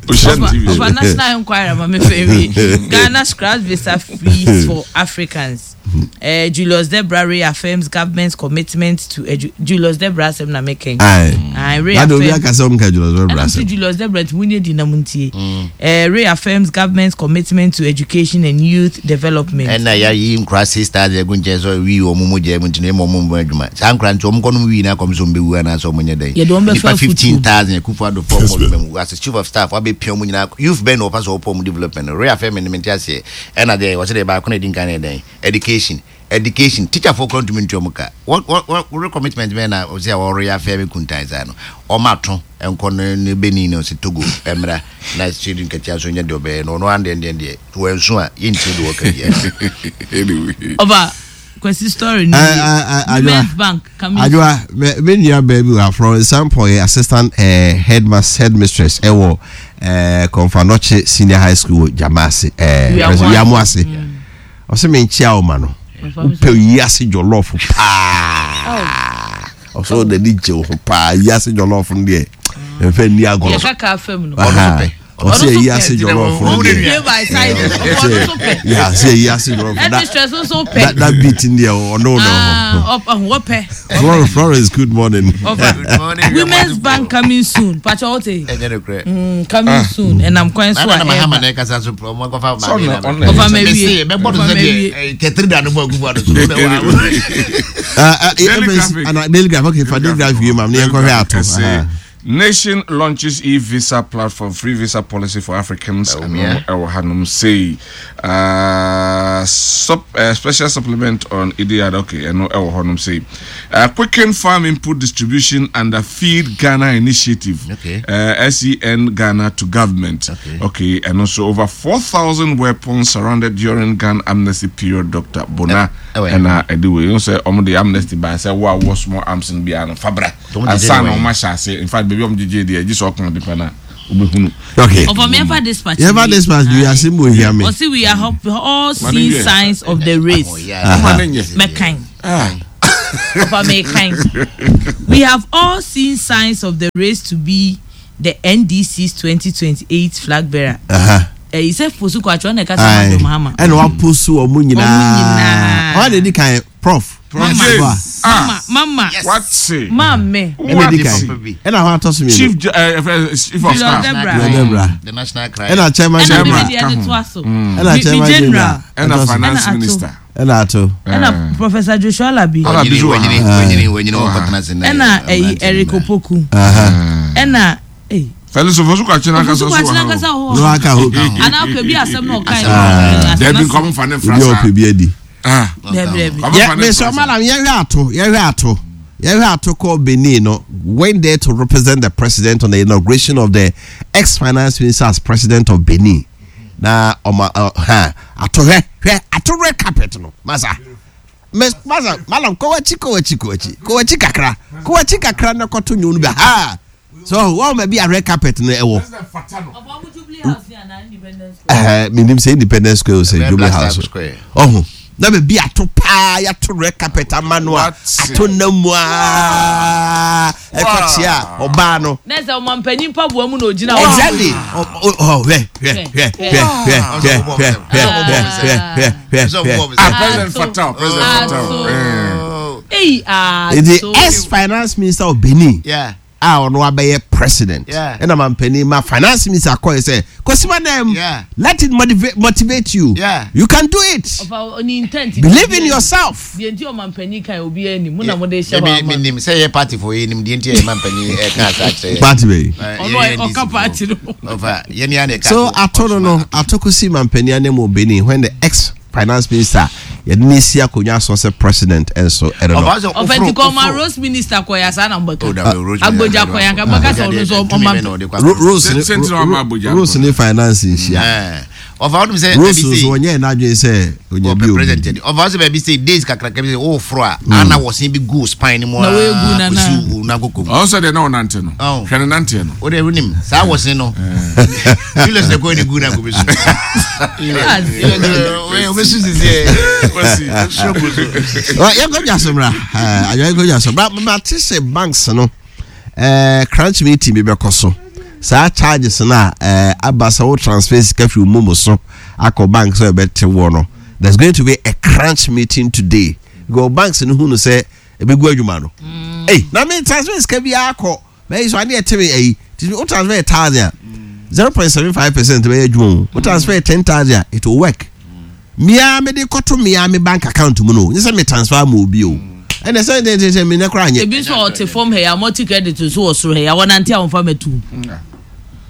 Ohyia no T V so. Ɔfa National Enquirer ma me fɛ wi. Ghana scraps visa fees for Africans. Uh, Julius Debra reaffirms government's commitment to edu Julius Debra asɛm na mekɛn. Aye. Aye, Na obi reaffirm. aka sɛ ɔmo ka Julius Debra Ɛna nso asɛm. Julius Debra nti munye di na mu ntie. Eh, reaffirms government's commitment to education and youth development. Ɛna yɛayi nkora six thousand agu nkyɛn sɛ wii wɔ mo mu gya mu nti na ɛma ɔmo mbɔ adwuma saa nkora nti ɔmo kɔnom wii na akɔm sɛ ɔmo bɛwu anaasɛ ɔmo nyɛ dɛn. Yɛde wɔn bɛfa Nipa afutuo. fifteen thousand Akufo Addo fɔ ɔmo ɔmo mu as a chief of staff wabɛpia ɔmo nyinaa. Youth bɛn na ɔpa sɛ ɔpɔ ɔmo development no reaffirm ne mente aseɛ. Ɛna deɛ wɔsɛ deɛ baako na ɛdi nkan ne dɛn, education education teacher fo kora ntumi ntua ɔmo ka. What what what recommitment bɛn na ɔsɛ a wɔre affirm kuntan saa no ɔmo ato nkɔ ne ne Benin na ɔsɛ Togo ɛmra na sidi nkatia so nyɛ deɛ ɔbɛyɛ no ɔno andeɛ deɛ deɛ wɔnso a yɛntie deɛ wɔka biara. Anyway. Ɔba Kwesi story ni. Eh, eh, eh, Women's Bank coming. Adwoa, me me nua baabi wɔ Florence Sampo yɛ assistant eh, headmaster, headmistress ɛwɔ eh, Komfo Anokye Senior High School wɔ Jamase eh, Wiamoase. Wiamoase. Ɔsɛ me nkyia wo ma no wopɛ yiase jollof paa, ɔsɛ ɔde ani gye wo ho paa. Yiase jollof no deɛ ɛmfɛ nni agorɔ. Yɛka ka fam no. Aha. Ɔno nso pɛ. Ɔsɛ Ɔno nso yiase pɛ. jollof no Ɔno deɛ Pay by size. Ɔno nso pɛ. yeah, ɔsɛ yiase jollof that, Headmistress nso that, pɛ. that beat in there ɔno no. Ah, ɔp- wɔpɛ. Florence, Florence, good morning. Ɔfa. Good morning. Women's Bank coming soon. Pacha wote. Ɛnyɛ no korɛ. Mm, coming soon. Ɛnam kwan so Nana a na Mahama ɛba. na ɛkasa so ɔmo akɔfa Sɛ ɔno- maame ɔno- na Ɔfa ma mese wie. bɛbɔ no Ɔfa sɛ ma wie. deɛ eh, tɛtiri da no bɔ Akufo Addo so. Uh, uh, Daily F N C Graphic. ana Daily Graphic, okay, fa Daily Graphic yi ma ne yɛnkɔhwɛ ato. Ɛsɛ Aha. Nation launches e-visa platform, free visa policy for Africans. Bawumia. Ɛno ɛwɔ hanom sei. Uh, sup, uh, special supplement on I D A D. Okay, ɛno ɛwɔ hɔnom sei. Uh, quicken farm input distribution under Feed Ghana initiative. Okay. Uh, S E N Ghana to government. Okay. Okay, and also over four thousand weapons surrendered during gun amnesty period, Doctor Bona. Eh, eh, And uh, anyway, you say ɔmo de amnesty by say wo a wɔ small arms no biara no fabra. Ɔmo gyegye Ansa ne na wɛn. ɔmo ahyɛ ase. In fact, baabi a ɔmo gyegye deɛ, gye sɛ ɔka nipa na wobɛhunu. Okay. Ɔfɔ mi dispatch. Yɛfa dispatch bi asɛm wɔ hia me. Ɔsi we are hop- all Mane seeing yɛ. signs of the race. Oh, yeah. Ɔmo ne nyɛ. Mɛkan. Ah. Ɔfa mɛkan. We have all seen signs of the race to be the N D C's twenty twenty-eight flag bearer. Aha. Ɛyi sɛ Fosu Kwakye ɔna ɛka sɛ Aye. Madam Mahama. Ɛna waposu ɔmo nyinaa. nyinaa. Ɔmo na edi kan, Prof Prof Mama. James. Ah. Mama mama. Yes. What's it? Maame. Ɛna edi kan. What? Ɛna hɔ atɔ so mmienu. Chief Ju- uh, uh, Chief of Julius Staff. Debra. Julius Debra. The national cry. Ɛna chairman Ɛna general. mi deɛ de to aso. Ɛna Mi mi chairman general. general. Ɛna Ɛtɔ so. finance Ɛna ato. minister. Ɛna ato. Ɛna Professor Joshua Alabi. Alabi Wanyini, so wɔ ha. wanyini, wanyini, wanyini, wɔkɔtena ase na- Ɛna ɛyi mmeranteɛ Eric no. Opoku. Aha. Ɛna ɛyi. Felix Ofosu Kwakye n'ankasa Ofosu so Kwakye wɔ ha o. n'ankasa wɔ Na hɔ. waka ho. Anaa akɔ bi asɛm na ɔka Ah. Dabi, nkɔm fa ne Obi nfra a saa. ɔpɛ bi adi. Ah. Dabi dabi. Nkɔm Yɛ fa ne mesɛ nfra saa. ɔmalam, yɛhwɛ ato yɛhwɛ ato yɛhwɛ ato kɔ Benin no, went there to represent the president on the inauguration of the ex-finance minister as president of Benin. Na ɔma ɔ ha ato, hwɛ hwɛ ato red carpet no, masa mes masa malam, kɔ w'akyi, kɔ w'akyi, kɔ w'akyi, kɔ w'akyi kakra, kɔ w'akyi kakra na kɔto nwom no bi ha so wɔn ma bi a red carpet no ɛwɔ. Ɛɛ, menim sɛ Independence Square o sɛ Ɛbɛyɛ Jubilee Black Star House. Square. Ɔho na baabi ato paa, yɛato red carpet ama no a What? ato nam mu aa ɛkɔkyea ɔbaa no. Ne sɛ ɔmampanyin mpaboa mu na ogyina hɔ. Exactly. Ɔ- ɔ- ɔ, hwɛ hwɛ hwɛ hwɛ hwɛ hwɛ hwɛ hwɛ hwɛ hwɛ hwɛ hwɛ. Ah, President Fatal, President Ato. Fatal. Eh. Oh, Eyi The ato. ex finance minister of Benin yeah. a ɔno abɛyɛ president, Yeah. ɛna mampanin ma finance minister akɔyɛ sɛ kosima nam, Yeah. let it motivate, motivate you. Yeah. You can do it. Ɔfa oni intent. Believe in yourself. Deɛ nti ɔmampanyin kan obi anim mu na mo de hyɛ hɔ Me ama. nim sɛ yɛ party fo yɛ nim deɛ nti yɛ ma mpanyin ɛka asa akyerɛ yɛ. Party bɛyi. Eh, Ɔno yɛ- yɛ ɔka N D C fo. party no. Ɔfa yɛn ni a na ɛka So so- ato no no ato kosi mampanin anim wɔ Benin when the ex finance minister yɛde ne si akonnwa so sɛ president ɛnso ɛno no. Ɔfa sɛ Ɔfɛ ɔforo- nti kɔ ɔma ɔforo- rose minister kɔ yɛ asa na mbɛka. Oh, dabi, Rose Agbogya minister, kɔ yɛ nka mbɛka sɛ ɔno nso Tumi ɔma. bɛ na ɔde kɔ Ro- akɔ. Rose Sɛ- ne sɛ nti na wama Abuja Rose ne finance nhyia. Eh, ɔfa wonim sɛ Rose baabi nso sei- wɔnyɛ n'adwene sɛ onya bi ɔpɛ obi. president yɛ de. Ɔfa sɛ baabi sei days kakraka bi sɛ woforo a ana wɔsen bi gu spine no mu Na a woegu nana. kɔsi wo nankokɔ mu. Ɔwɔ sɛ deɛ na ɔnante no. Oh. Hwɛ ne nanteɛ no. Wode wonim saa wɔsen no, Julius na kɔɛ ne gu na nkɔbɛsu wobɛsu sisiɛ. Yɛnkɔ dwa so mmra, adwa yɛnkɔ dwa so mmra. Mate sɛ banks no eh, crunch meeting bi bɛkɔ so. Saa charges no a eh, aba sɛ wo transfer sika firi wo MoMo so akɔ bank sɛ ɛbɛte wɔ no, there's going to be a crunch meeting today because banks no hu no sɛ ɛbɛgu adwuma no. Ei, na me transfer sika bi akɔ bɛyi so adeɛ ɛte me ayi nti wo transfer thousand a, zero point seven five percent bɛyɛ adwuma o. Wo transfer ten thousand a, it will work. Mia mede kɔto mia me bank account mu no, nye sɛ me transfer ma obi o. Ɛnɛ sɛ sɛ sɛ me ne kora anyɛ. Ebi nso a ɔte fam ha yi a multi credit nso wɔ soro ha yi a wɔnante a wɔnfa mɛtu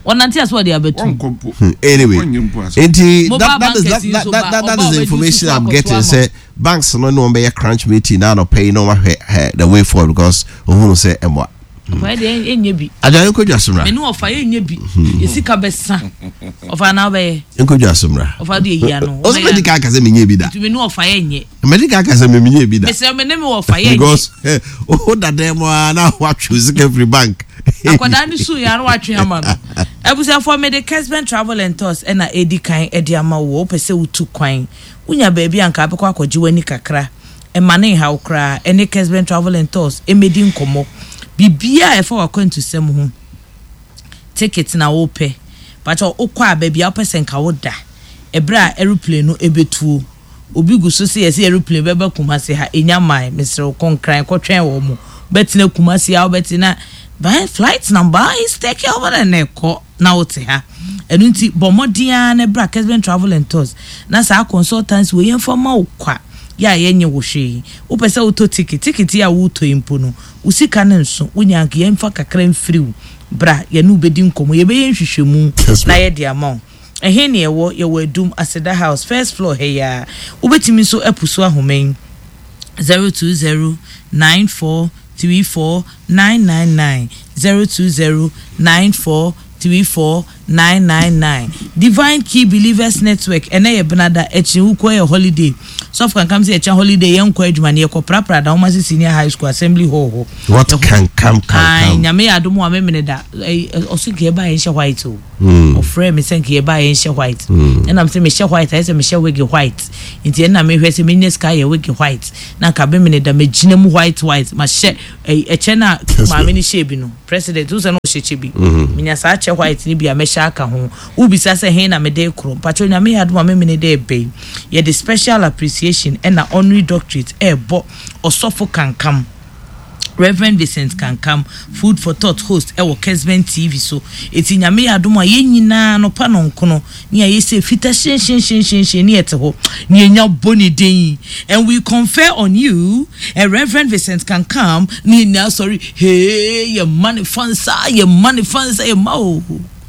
wɔnante a so wɔde abɛtu. Wɔnkɔ mpo. Hmm, anyway Wɔnyɛ mpo ase. Nti Mobile that, that is that, bankers yi that, nso that, ba- that, that ɔba is the ɔbɛdi information susu I'm akɔto getting ama. sɛ banks no ne wɔn bɛyɛ crunch meeting na anɔpɛ yi na wɔn ahwɛ eh, the way forward because ohun sɛ ɛmoa. Ɔfa yɛ deɛ ɛnyɛ bi. Adwa nkɔ dwa so mmra. Mene ɔfa yɛ nyɛ bi, yɛsika bɛsa ɔfa na wobɛyɛ. Nkɔ dwa so mmra. Ɔfa de yɛyi ano. Ɔsɛ mɛdi ka aka sɛ menyɛ bi da. Nti mene ɔfa yɛ nyɛ. Mɛdi ka aka sɛ menyɛ bi da. Mesrɛ me ne me wɔfa yɛ nyɛ. Because eh, o da dan mu a na watwe sika firi bank. Akwadaa no suu yɛ ano watwe ama no. Abusuafoɔ, mede Kesben Travel and Tours ɛna ɛdi kan ɛde ama wo. Wopɛ sɛ wotu kwan, wonya baabi a nka abɛkɔ akɔgye w'ani kakra, ɛma ne nhaw koraa. Ɛne Kesben Travel and Tours ɛmɛdi nkɔmmɔ biribiaa ɛfa w'akwantusɛm ho. Ticket na wopɛ, pakyɛ wokɔ a baabi a wopɛ sɛ nka woda ɛberɛ a aeroplane no ɛbɛtuo. Obi gu so sɛ yɛsɛ aeroplane bɛba Kumase ha, ɛnya man. Mesrɛ wo, kɔnkran kɔtwɛn wɔ mo bɛtena Kumase a wobɛtena by flight number is taking over na ɛkɔ na wote ha. Ɛno nti bɔ mmɔden ara na bra Kesben Travel and Tours na saa consultancy wɔ yɛmfa ma wo kwa. Yɛ a yɛnyɛ wo hwee. Wopɛ sɛ wotɔ ticket, ticket yi a wotɔ yi mpo no, wo sika no nso, wonya anka yɛmfa kakra mfiri wo. Bra, yɛne wo bɛdi nkɔmmɔ, yɛbɛyɛ nhwehwɛmu na yɛde ama wo. Ɛhe ne yɛwɔ? Yɛwɔ Adum, Aseda House, first floor ha yi ara. Wobɛtumi nso apu so ahoma yi, zero two zero nine four three four nine nine nine, zero two zero nine four three four nine nine nine. Divine Key Believers Network, ɛnɛ yɛ Benada, akyiri wokɔ yɛ holiday. Sɔfo Kankam sɛ yɛkyɛ holiday, yɛnkɔ adwuma no, yɛkɔ prapra Dawomase Senior High School Assembly Hall hɔ. What Kankam Kankam? Nyame yɛ adom a memene da, ɔso nka yɛba yɛnhyɛ white o. Ɔfrɛ me sɛ nka yɛba yɛnhyɛ white. Ɛnam sɛ mehyɛ white, ayɛ sɛ mehyɛ wig white. Nti ɛnna mehwɛ sɛ menya sika yɛ wig white. Na nka memene da megyina mu white white. Mahyɛ ɛkyɛ na maame no hyɛ bi no. President, wo sɛ no ɔhyɛ kyɛ bi. Menya saa kyɛ white ni bi a mɛhyɛ aka ho. Wobisa sɛ he na mede korɔ. Mpakyɛ Nyame yɛ adom a memene da ɛbɛyi. Yɛde special appreciation ɛna honorary doctorate ɛɛbɔ Ɔsɔfo Kankam. Reverend Vincent Kankam, Food for Thought host ɛwɔ Kesben T V so. Eti Nyame yɛ adom a yɛn nyinaa no pa no nkono ne a yɛsɛ fita hyɛnhyɛnhyɛnhyɛnhyɛn ne yɛte hɔ ne yɛnya bɔ ne din. And we confer on you, a Reverend Vincent Kankam, ne yɛn nyinaa sɔre, hey, yɛ ma ne fansa, yɛ ma ne fansa, yɛ ma o.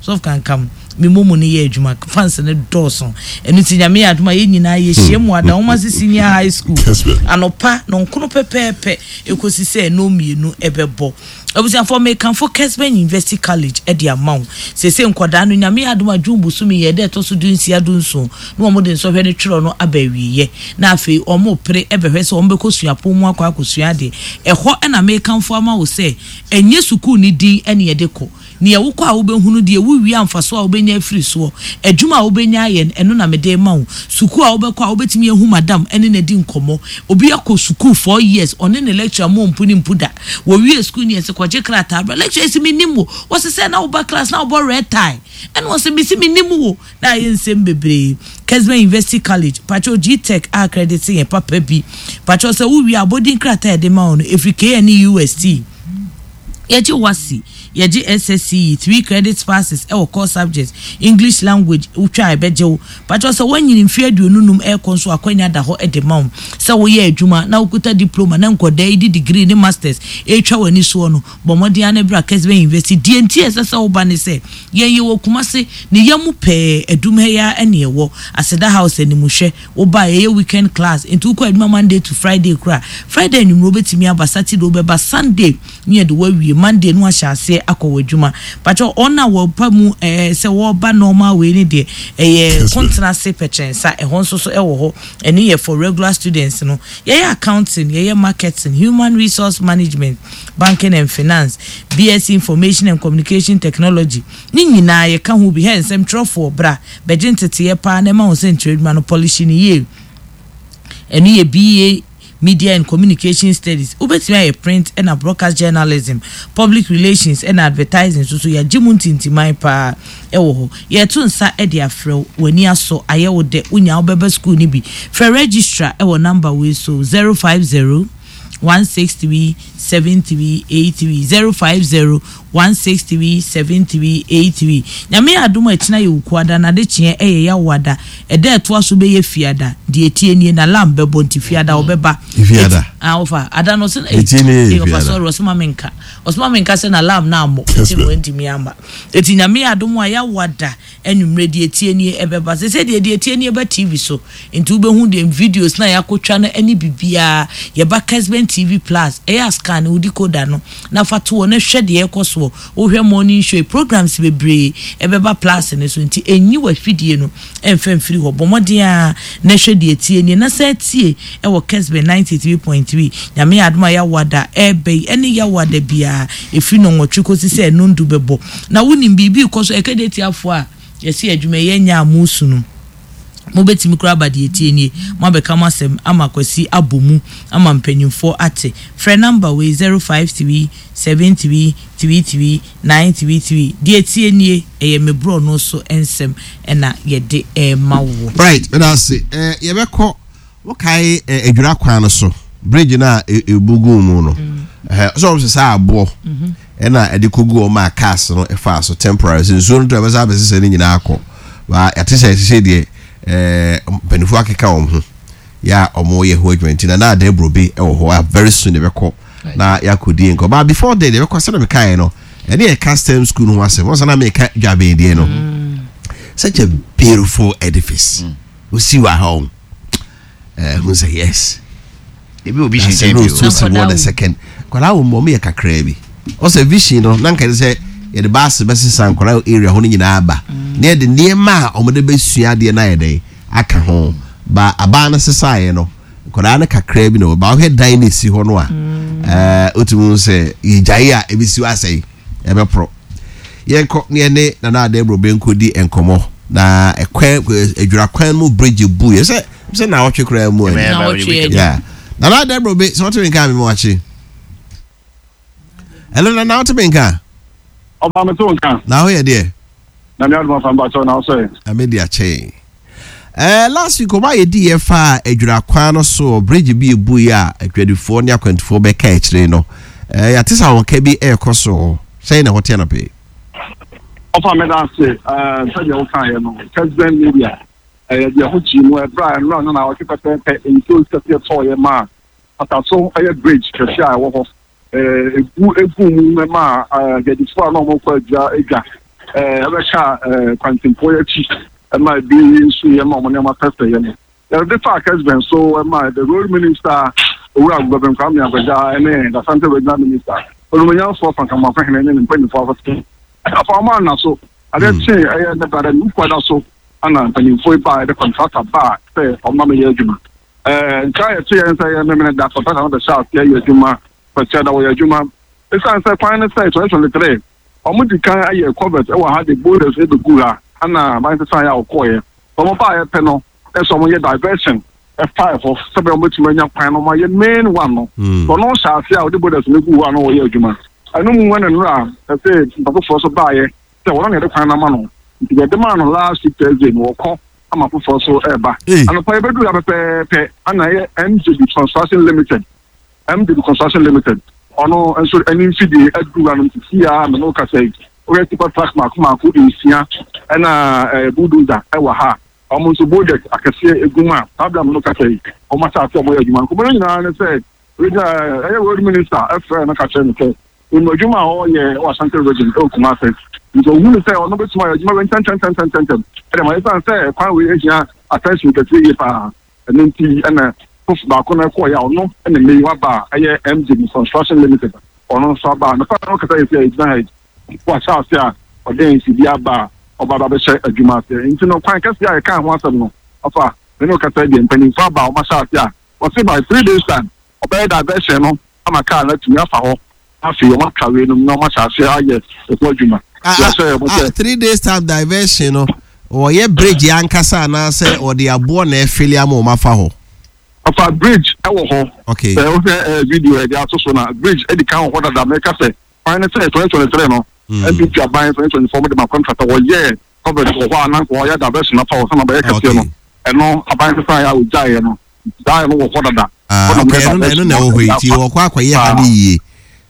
Sɔfo Kankam, me momo ne yɛ adwuma, fans ne dɔɔso. Ɛno nti Nyame yɛ adom a yɛn nyinaa yɛhyia mu Adawomase Senior High School. Anɔpa no nkono pɛpɛɛpɛ ekosi sɛ ɛno mmienu ɛbɛbɔ. Abusuafoɔ, mekamfo Kesben University College ɛde ama wo. Sese nkwadaa no Nyame yɛ adom a June bosome yɛ ɛda ɛtɔ so du nsia du nson na wɔn de nsɔhwɛ no twerɛ no aba awieɛ. Na afei wɔn pere ɛbɛhwɛ sɛ wɔn bɛkɔ suapɔn mu akɔ akɔsua adeɛ. Ɛhɔ ɛna mekamfo ama wo sɛ ɛnyɛ sukuu ne din ɛne ɛde kɔ. Nea wokɔ a wobɛhunu deɛ wowie amfaso a wobɛnya afiri soɔ. Adwuma a wobɛnya ayɛ no, ɛno na mede ma wo. Sukuu a wobɛkɔ a wobɛtumi ahu madam ɛne na di nkɔmmɔ. Obi akɔ sukuu four years, ɔne ne lecturer mo mpu ne mpu da. Wɔwie sukuu ne yɛsɛ kɔgye krataa bra. Lecturer si menim wo. Wɔse sɛ na woba class na wobɔ red tie. Ɛna wɔse mesi menim wo. Na ayɛ nsɛm bebree. Kesben University College, pakyɛw G-Tech a accredit yɛn papa bi. Pakyɛw sɛ wowie abɔdin krataa yɛde ma wo no, ɛfiri K N U S T. Yɛgye WASSCE, yɛgye S S C E, three credit passes ɛwɔ core subjects, English language, wotwa a ɛbɛgye wo. Pakyɛw sɛ woanyini mfe aduonu num ɛrekɔ nso akwanya da hɔ ɛde ma wo. Sɛ woyɛ adwuma na wokuta diploma na nkɔdaa yi di degree ne masters ɛretwa w'ani soɔ no, bɔ mmɔden ara na bra Kesben University. Deɛ nti a ɛsɛ sɛ woba ne sɛ, yɛn yɛwɔ Kumase, ne yam mu pɛɛ, Adum ha yi ara ɛne ɛwɔ. Aseda House animhwɛ, woba a yɛyɛ weekend class, nti wokɔ adwuma Monday to Friday koraa. Friday anwummerɛ wobɛtumi aba, Saturday wobɛba, Sunday ne yɛde wawie, Monday no ahyɛ aseɛ akɔ w'adwuma. Pakyɛw ɔn a wɔpa mu ɛɛ sɛ wɔba normal wei ne deɛ ɛyɛ kontenase pɛkyɛnsa, ɛhɔ nso so ɛwɔ hɔ. Ɛno yɛ for regular students no. Yɛyɛ accounting, yɛyɛ marketing, human resource management, banking and finance, B S C information and communication technology. Ne nyinaa yɛka ho bi. Hɛ nsɛm twerɛfoɔ bra bɛgye nteteeɛ paa na ɛma wo sɛ ntwerɛ adwuma no polish ne yie. Ɛno yɛ B A Media and Communication Studies. Wobɛtumi ayɛ print ɛna broadcast journalism, public relations ɛna advertising nso so yɛagye mu ntintiman paa ɛwɔ hɔ. Yɛto nsa ɛde afrɛ wo, w'ani asɔ, ayɛ wo dɛ, wonya wobɛba school no bi. Frɛ registrar ɛwɔ number wei so zero five zero one six three seven three eight three, zero five zero one six three seven three eight three. Nyame adom a ɛkyena yɛ Wukuada na ade kyeɛ ɛyɛ Yawoada. Ɛda ɛtoa so bɛyɛ Fiada. Deɛ etie nie na lamb bɛbɔ nti Fiada ɔbɛba. Fiada. Ah, ofa. Ada no ɔse, Etie nie yɛ eh, ɔfa Fiada. sorry, ɔse ma menka. Ɔse ma menka sɛ na lamb na amɔ. Yes, Nti ma'am. wantumi amba. Eti Nyame adom a Yawoada anwummerɛ deɛ etie nie ɛbɛba. Sɛ sɛ deɛ deɛ etie nie ba T V so. Nti wobɛhu deɛ videos na yɛakɔtwa no ɛne biribiara. Yɛba Kesben T V Plus. Ɛyɛ a scan wo decoder no na fa to hɔ na hwɛ deɛ ɛkɔ soɔ. Wohwɛ morning show, programs bebree ɛbɛba Plus no so. Nti ɛnyi w'afidie no ɛmfa mfiri hɔ. Bɔ mmɔden a na hwɛ deɛ etie nie na san tie ɛwɔ Kesben ninety-three point three. Nyame adom a Yawoada ɛɛbɛ yi ɛne Yawoada biara ɛfiri nnɔnwɔtwe kɔsi sɛ nnɔndu bɛbɔ. Na wonim biribi kɔ so ɛka deɛ tiafoɔ a yɛsi adwuma yɛn nya amusu no. Mobɛtumi koraa aba deɛ etie nie. Mo abɛka mo asɛm ama Kwasi abɔ mu ama mpanyinfoɔ ate. Frɛ number wei zero five three seven three three three nine three three. Deɛ etie nie ɛyɛ me borɔ no so nsɛm ɛna yɛde ɛma wo. Right, meda ase. Eh, yɛbɛkɔ wokae eh, adwira kwan no so bridge na ebugu mu no. Eh, so wɔn sɛ saa aboɔ ɛna ɛde kogu wɔn a cars no ɛfa so temporary sɛ nsuo no to ɛbɛsa abɛsesɛ ne nyinaa akɔ. Ba yɛte sɛ ɛsɛ deɛ eh, mpanyinfoɔ akeka wɔn ho. Yɛ a ɔmo yɛ ho adwuma nti na na adan burobe ɛwɔ hɔ a very soon yɛbɛkɔ na yɛakɔdi nkɔ. But before then, yɛbɛkɔ sɛdeɛ mekaeɛ no, ɛne yɛka STEM school no ho asɛm. Wɔn sɛ na meka Dwaben deɛ no, such a beautiful edifice osi wɔ ha o, ɛɛ hu sɛ yes. Ebi obi hyɛ nkyɛn bi o. So wɔ the second nkwadaa wɔ mu, ɔmo yɛ kakraa bi. Ɔsɛ vision no na nka sɛ yɛde baasi bɛsesa nkwadaa area hɔ no nyinaa ba na yɛde nneɛma a wɔde bɛsua adeɛ no ayɛ dɛ aka ho ba. Abaa no sesaeɛ no, nkwadaa no kakraa bi na wɔ ba. Ɔhwɛ dan no esi hɔ no a, ɛɛ otumi sɛ yɛgyae a ebi si hɔ asɛe, ɛbɛporɔ. Yɛnkɔ ne yɛne Nana Adebro bɛnkɔ di nkɔmɔ na ɛkwan adwira kwan mu bridge bu yɛ sɛ sɛ na awɔtwe koraa mu ɛni. Yeah, Nana Adebro be sɛ wɔte mi nka mi mu wakye. Ɛno Nana, wɔte mi nka? Ɔba mi tó nka. Na aho yɛ deɛ? Na mi adum afa mbakyɛw na ɔsɛ. Ame di akyɛn. ɛɛ last week ɔba yɛ di yɛ fa adwira kwan no so, bridge bi ebu yi a adwadifoɔ ne akwantufoɔ bɛka akyire no, ɛɛ yɛate sɛ ahɔka bi ɛrekɔ so. Sɛn na ɛhɔ te anɔpɛ? Ɔfa, mi da ase. ɛɛ sɛdeɛ woka yɛ no, President Media ɛyɛ deɛ ho kyi mu ɛbrɛ a nnura no na ɔtwe pɛpɛɛpɛ nsuo kɛseɛ tɔɔyɛ maa pataso ɛyɛ bridge kɛseɛ a ɛwɔ hɔ ɛɛ egu egu mu ma ɛɛ adwadifoɔ a na wɔn kɔ adwa adwa ɛɛ ɛbɛka ɛɛ kwantempɔn akyi ɛma ebi nso yɛ ma wɔn nneɛma pɛpɛ yɛ no. Yɛde fa Kessben so ɛma the Road Minister, Owura Godwin Kwame Agbodza, ɛne the Asante Regional Minister, Onumanyamfoɔ Frank Amoakohene, ne ne mpanyinfoɔ afɔte afa wɔn ana so. Adeɛ kyee ɛyɛ ne brada ne wukuada so ana mpanyinfoɔ yi baa, yɛde contractor baa sɛ ɔma mi yɛ adwuma. ɛɛ nka yɛte yɛn sɛ yɛ memene da contractor no bɛhyɛ aseɛ yɛ adwuma pɛkyɛ da wɔyɛ adwuma. Esan sɛ kwan no sɛ twenty twenty three wɔn di kan ayɛ culvert ɛwɔ ha de boulders ebegu ha ana aban sisan yɛ a ɔkɔɔyɛ wɔn baa yɛ pɛ no ɛsɛ wɔn yɛ diversion ɛfa ɛhɔ sɛbɛ wɔn bɛtumi anya kwan no wɔn ayɛ main one no. Ɔno hyɛ ase a ɔde boulders no gu hɔ a na wɔyɛ adwuma. Ɛno mu ɛna nnura ɛsɛ nipa foforɔ so baayɛ sɛ wɔn na yɛde kwan no ama no, nti yɛde maa no last week Thursday no, wɔkɔ ama foforɔ so ɛɛba. Anɔpa yɛbɛduru ha pɛpɛɛpɛ ana ɛyɛ M J B Construction Limited. M J B Construction Limited ɔno nso ɛne mfidie aduru ha no sisi a mene wo kasa yi. Woyɛ tipper truck mako mako nsia ɛna ɛɛ bulldozer ɛwɔ ha. Wɔn nso boulders akɛseɛ egu mu a saa abira mene wo kasa yi wɔn ahyɛ ase a wɔyɛ adwuma. Nkɔmɔ no nyinaa ne sɛ regional ɛyɛ Road Minister ɛfrɛ no ka kyerɛ no sɛ nnum adwuma a ɔyɛ wɔ Ashanti Region ɛwɔ Kumase, nti ohun sɛ ɔno bɛtumi ayɛ adwuma wei ntɛntɛntɛntɛntɛm ɛdɛm ayɛ san sɛ kwan wei ehia attention kɛseɛ yie paa. Ɛno nti ɛna fof baako no ɛkɔɔ yɛ a ɔno ɛna mmɛ yi waba a ɛyɛ M J B Construction Limited, ɔno nso aba a nipa no kasa yɛ sɛ egyina ha yi wahyɛ ase a ɔde mfidie aba a ɔba ba bɛhyɛ adwuma ase. Nti no kwan kɛseɛ a yɛka ho asɛm no, ɔfa mene kasa deɛ mpanyinfoɔ aba a wɔahyɛ ase a wɔsi by three days time ɔbɛyɛ diversion no ama kaa no atumi afa hɔ. Afei wɔn atwa wei nom na wɔn ahyɛ ase ayɛ ɛho adwuma. Ah, ah, three days time diversion no, wɔyɛ bridge ankasa anaasɛ wɔde aboɔ na ɛfili ama wɔn afa hɔ? Ɔfa, bridge ɛwɔ hɔ. Okay. Sɛ wohwɛ ɛɛ video ɛde ato so na bridge ɛdi kan wɔ hɔ dada. Mɛka sɛ kwan ne sɛ twenty twenty three no, N P P aban twenty twenty four mo de ma contractor, wɔyɛ culvert wɔ hɔ a nanka wɔyɛ diversion afa hɔ sɛ bɛyɛ kɛseɛ no. Ɛno aban sisan yɛ a ogyaeɛ no daa ɛno wɔ hɔ dada. Ah, okay, ɛno na ɛno na ɛwɔ hɔ yi, ti wɔkɔ akɔyɛ ha ne yie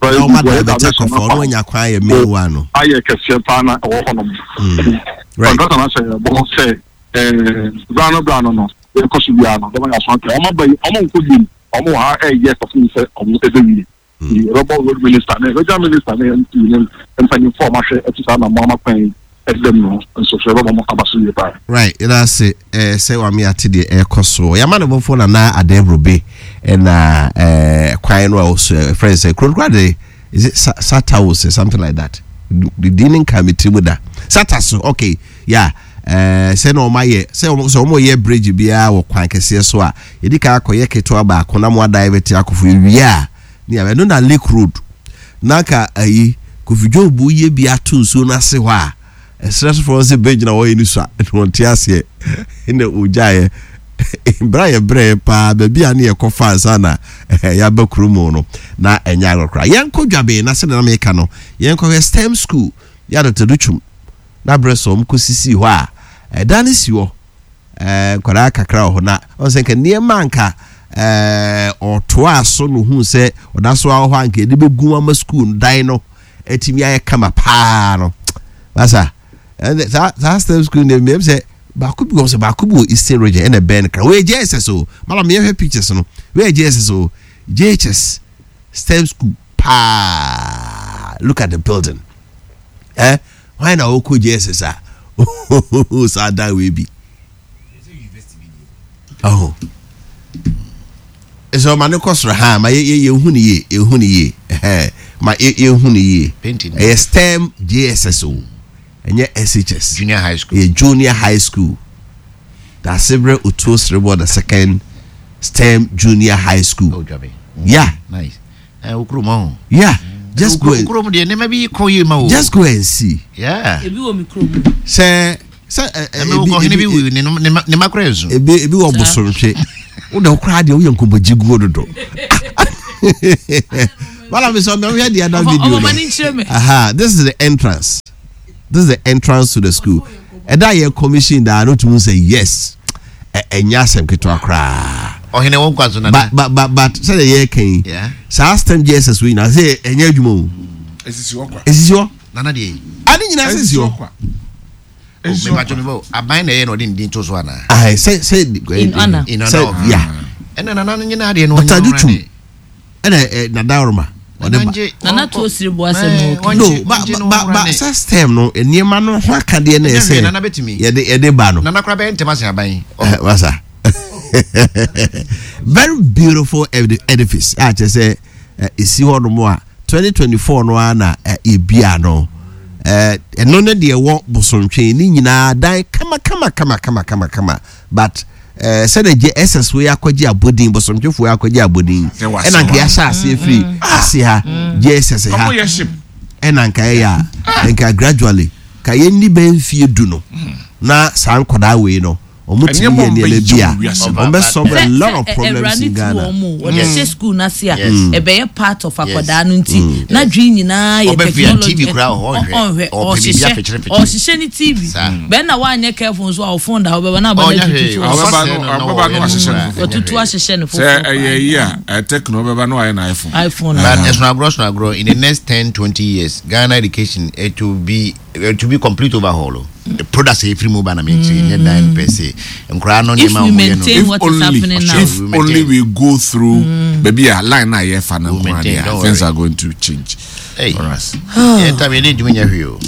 na ɔma divert akɔfɔ ɔno anya kwan ayɛ main one no. Ayɛ kɛseɛ paa na ɛwɔ hɔ nom. Right. Contractor no ahyɛ bɔ sɛ ɛɛ brano brano no yɛkɔ so biara no dɔm yɛ aso ate ɔmo aba yi, ɔmo nkɔ bi ɔmo wɔ ha ɛyɛ kɔfin sɛ ɔmo ɛbɛwie. Yɛbɛbɔ Road Minister ne Regional Minister ne M P ne mpanyinfoɔ a ɔmo ahwɛ ɛte saa na mo ama kwan ɛdɛm no nso so, yɛbɛbɔ mo aba so yie paa. Right, yɛda ase ɛɛ sɛ wame ate deɛ ɛrekɔ so. Yɛama ne bɔfoɔ Nana Adebrobe ɛna ɛɛ kwan no a ɔso ɛfrɛ sɛ kuro no kora de, is it Sa Sataos or something like that? Di ne nka me tiri mu da Sata so. Okay, yeah, ɛɛ sɛ na ɔmo ayɛ sɛ ɔmo sɛ ɔmo yɛ bridge biara wɔ kwan kɛseɛ so a, yɛdi kan akɔyɛ ketewa baako na mo adivert akɔfo ewie a ne yɛ ɛno na Lake Road nanka ayi Kofi Job yɛ bi ato nsuo no ase hɔ a ɛsrɛ so fɔlɔ sɛ bridge na wɔyɛ ni so a ɛna wɔn te aseɛ ɛna ogyaeɛ mbra yɛ brɛ paa baabi a ne yɛ kɔ fa ansa na yɛaba kurom no na ɛnyɛ agorɔ koraa. Yɛnkɔ Dwaben na sɛdeɛ na meka no, yɛnkɔhwɛ STEM school yɛ Adɔtɔ Twum na berɛ sɛ ɔm kɔsisi hɔ a ɛdan no si hɔ, ɛɛ nkwadaa kakra wɔ hɔ na ɔn sɛ nka nneɛma nka ɛɛ ɔtoa so no hu sɛ ɔda so awɔ hɔ a nka yɛde bɛgu ama school no dan no atumi ayɛ kama paa no. Basa ɛnɛ saa saa STEM school no mmea sɛ Baako bi wɔ sɛ baako bi wɔ Eastern Region ɛna ɛbɛn no kra. Wɔyɛ J S S o, madam, yɛhwɛ pictures no. Wɔyɛ J S S o, J H S STEM school paa. Look at the building. Eh, hwan na wɔkɔ J S S a saa dan wei bi ɔho ɛsɛ ɔma ne kɔ soro ha ma yɛ yɛhu ne yie, yɛhu ne yie, ɛhɛn, ma yɛ yɛhu ne yie. Painting. Ɛyɛ STEM J S S o, ɛnyɛ S H S. Junior high school. Ɛyɛ junior high school, Daasebrɛ Otuo Sereboɔ the Second STEM Junior High School. Oh, Dwabe. Yeah. Nice. Eh, wo kurom ho. Yeah, just go and Kurom deɛ, nneɛma bi kɔ yie ma o. Just go and see. Yeah. Ebi wɔ mi kurom. Sɛ sɛ ɛ ɛ Ɛmɛ wokɔ hene bi wu ne ne ma- ne ma kora nsu. ebi ebi wɔ Bosomtwe. Wo de koraa deɛ, woyɛ nkɔmmɔgye guo dodo. Wala mi sɛ ɔmɛ wohwɛ the other Ɔfɔ- video ɔfɔ no. ma ne nkyerɛ me. Aha, this is the entrance. This is the entrance to the school. Ɛda yɛ commission daa no tumi sɛ yes, ɛ ɛnyɛ asɛm ketewa koraa. Ɔhene wɔn kwa so nana. but but but but sɛdeɛ yɛ kan yi, Yeah. saa STEM J S S wei nyinaa sɛ ɛnyɛ adwuma o. Esisi hɔ kwa. Esisi hɔ. Nana deɛ yi. Ade nyinaa sisi hɔ. Kwa. Esisi hɔ Mebatɔ kwa. mi bɔ aban na ɛyɛ na ɔde ne din to so ana. Ayi, sɛ sɛ In honor. In honor sɛ of. Yeah. Ɛna nana no nyinaa deɛ no. Doctor Ɔnyɛ Adutwum. ɔwura Ɛna ɛ Nadaworoma ɔde Nana ba. ngye- Nana ɔnkɔ- tuo siri bu asɛm Eh, o. ɔngye- No, ba ɔngye no ba ɔwura ba ne. sɛ STEM no, nneɛma no ho akadeɛ na Ɛnyɛ ɛsɛ hwee, Nana bɛtumi. yɛde yɛde ba no. Nana kora bɛyɛ ntɛm ase aban. Eh, wasa very beautiful edi- edifice a kyerɛ sɛ eh, esi hɔ nom a twenty twenty-four no ara na eh, ebia no. Eh, ɛno ne deɛ ɛwɔ Bosomtwe ne nyinaa dan kama kama kama kama kama kama, but eh, sɛdeɛ gye S S wei akɔgye abɔdin, Bosomtwefoɔ yi akɔgye abɔdin, Sɛ wase ɛna nka hɔ. yɛahyɛ aseɛ firi ase ha J S S ha. Ɔmo yɛ ship. Ɛna nka ɛyɛ a nka gradually ka yɛnni bɛn mfie du no na saa nkɔdaa wei no ɔmo tumi Nneɛma yɛ nneɛma bi a ɔmbɛgye wɔ wiase ɔmo bɛ solve a lot of problems in Ghana. Wɔde hyɛ school n'ase a, Yes. ɛbɛyɛ part of akwadaa no, nti n'adwene nyinaa yɛ Ɔbɛfia technology. T V koraa wɔ hɔ, ɔnhwɛ. Ɔnhwɛ. Ɔpɛ biribi Ɔhyehyɛ afekyere-fekyere. Ɔhyehyɛ ne T V. Saa. Bɛn na wanyɛ careful nso a, ɔfon da hɔ bɛba na aba Ɔnyɛ na hwee. tutu. Ɔbɛba Ɔfa no- sɛ no na ɔbɛba no ɔyɛ ahyehyɛ no no koraa. foforɔ. Ɔtutu ahyehyɛ no Sɛ foforɔ. ɛyɛ yi a, ɛ Tecno bɛba no ayɛ na iPhone. iPhone. But ɛsono agorɔ, sono agorɔ. In the next ten, twenty years, Ghana education, it will be it will be complete overhaul o. The products efiri mu ba na mi kyerɛ nyɛ dan per se. Nkoraa no If nneɛma we a wɔn yɛ no. maintain If what is only happening now. If We only maintain. we go through baabi a line na yɛfa no We nko maintain, adeɛ a, don't things worry. are going to change Hey. for us. Yɛn tam yɛn ne ntumi nyɛ hwee o.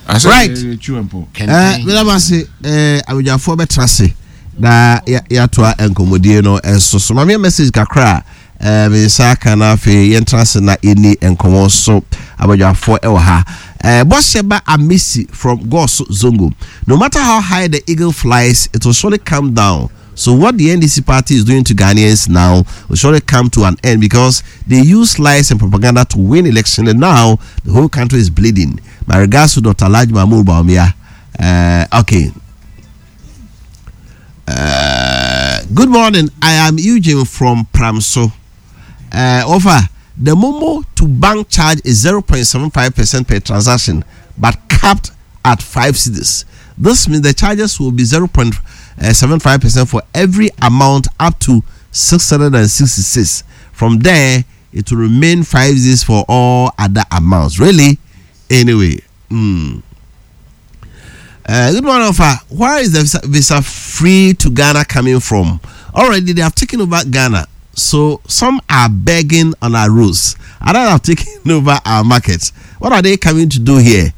Asɛ Right. yɛ- yɛ chew mpo. ɛɛ Kɛntɛn. Mɛdam ase. ɛɛ abadwafoɔ bɛtena ase na yɛ- yɛatoa nkɔmmɔdie no ɛso so. Maame, message kakra a ɛɛ me nsa aka no, afei yɛntena ase na yɛni nkɔmmɔ so. Abadwafoɔ ɛwɔ ha. ɛɛ bɔhyɛba Amisi from Goso Zongo: "No matter how high the eagle flies, it will surely come down. So what the N D C party is doing to Ghanaians now will surely come to an end because they use lies and propaganda to win election, and now the whole country is bleeding. My regards to Doctor Alhaji Mahmoud Bawumia." Uh, okay. Uh, good morning. I am Eugene from Pramso. Uh, offer the Momo to bank charge is zero point seven five percent per transaction, but capped at five cedis. This means the charges will be zero point seven five percent for every amount up to six hundred sixty-six. From there, it will remain five cedis for all other amounts. Really? Anyway. Mm. Uh, good morning, Ofa. Where is the visa, visa free to Ghana coming from? Already they have taken over Ghana. So some are begging on our roads. Others have taken over our markets. What are they coming to do here?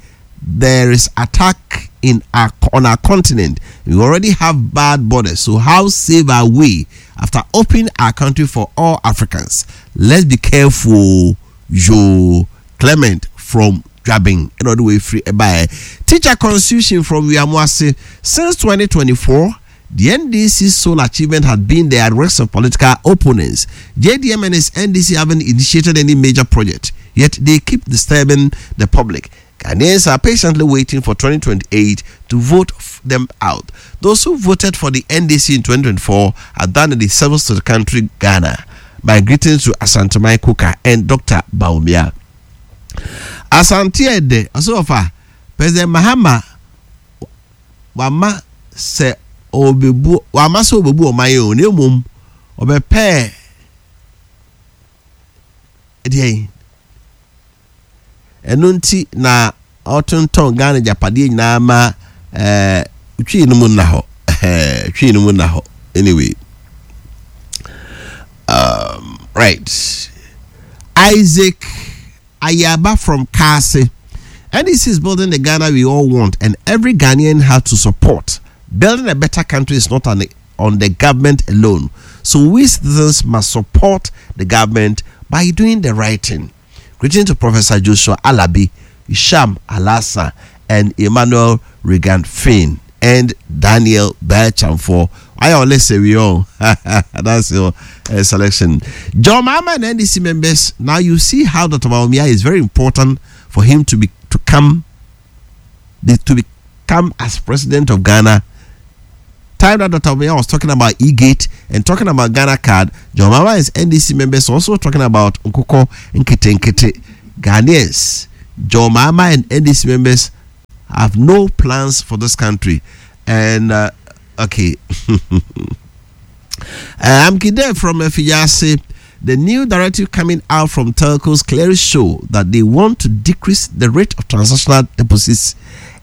There is attack in our on our continent. We already have bad borders. So how safe are we after opening our country for all Africans? Let's be careful." Joe Clement from Grabbing another way free by teacher constitution from Wiamoase: "Since twenty twenty-four, the N D C's sole achievement had been the arrest of political opponents. J D M and his N D C haven't initiated any major project, yet they keep disturbing the public. Ghanaians are patiently waiting for twenty twenty-eight to vote f- them out. Those who voted for the N D C in twenty twenty-four have done a disservice to the country, Ghana. My greetings to Asanteman Kuka and Doctor Bawumia." Asante Ede ɔsɛ, "President Mahama wama sɛ ɔbɛbu wama sɛ ɔbɛbu ɔman yi o, na emom ɔbɛpɛɛ deɛ yi ɛno nti na ɔtontɔn Ghana gyapadeɛ nyinaa ma ɛɛ twi no mu nna hɔ." Ɛhɛn, twi no mu na hɔ. Anyway, um, right. Isaac Ayaba from Kase. N D C is building the Ghana we all want, and every Ghanaian has to support. Building a better country is not on the, on the government alone. So we citizens must support the government by doing the right thing. Greeting to Professor Joshua Alabi, Isham Alasa, and Emmanuel Regan Finn, and Daniel Berchamfor. I always say we all. That's your uh, selection. John Mahama and N D C members. Now you see how Doctor Bawumia is very important for him to be to come to become as president of Ghana. Time that Doctor Bawumia was talking about e-gate and talking about Ghana card, John Mahama and N D C members also talking about Nkoko Nkete Nkete. Ghanaians, John Mahama and N D C members have no plans for this country. And uh, okay. uh, I'm Kide from Efiyase. The new directive coming out from telcos clearly show that they want to decrease the rate of transactional deposits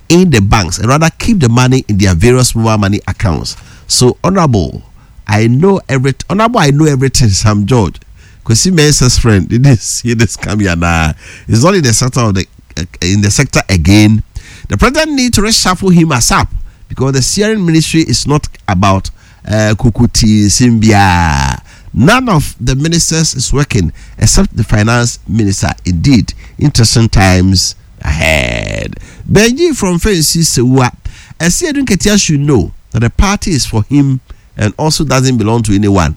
in the banks and rather keep the money in their various mobile money accounts. So, Honorable, I know every Honorable, I know everything. Sam George, because he Mensah's friend, didn't see this coming. Nah, it's not in the sector of the uh, in the sector again. The president need to reshuffle him ASAP because the steering ministry is not about uh, Kukuti Simbia. None of the ministers is working except the finance minister. Indeed, interesting times ahead. Benji from Fancy Sewa. Asiedu Nketia should know that the party is for him and also doesn't belong to anyone.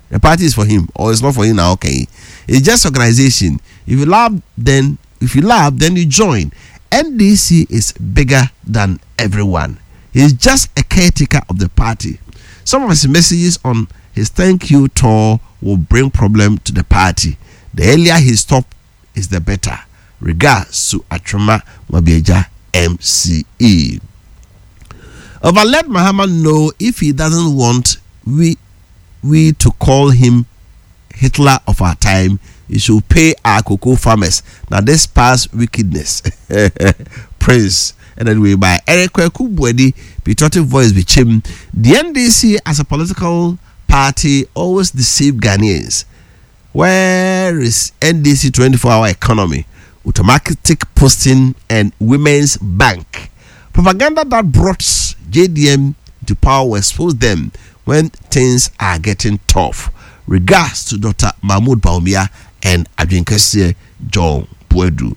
The party is for him or it's not for him now. Okay. It's just organization. If you love, then if you love, then you join. N D C is bigger than everyone. He's just a caretaker of the party. Some of his messages on his thank you tour will bring problem to the party. The earlier he stop is the better. Regards to Atrama Wabieja M C E. Over, let Mahama know if he doesn't want we we to call him Hitler of our time, he should pay our cocoa farmers. Now this past wickedness. Prince. And anyway, by Eric Kweku patriotic voice Bichim, the N D C as a political party always deceive Ghanaians. Where is N D C twenty-four hour economy, automatic posting, and women's bank? Propaganda that brought J D M to power will expose them when things are getting tough. Regards to Doctor Mahmoud Bawumia and Adwinkese John Puedu.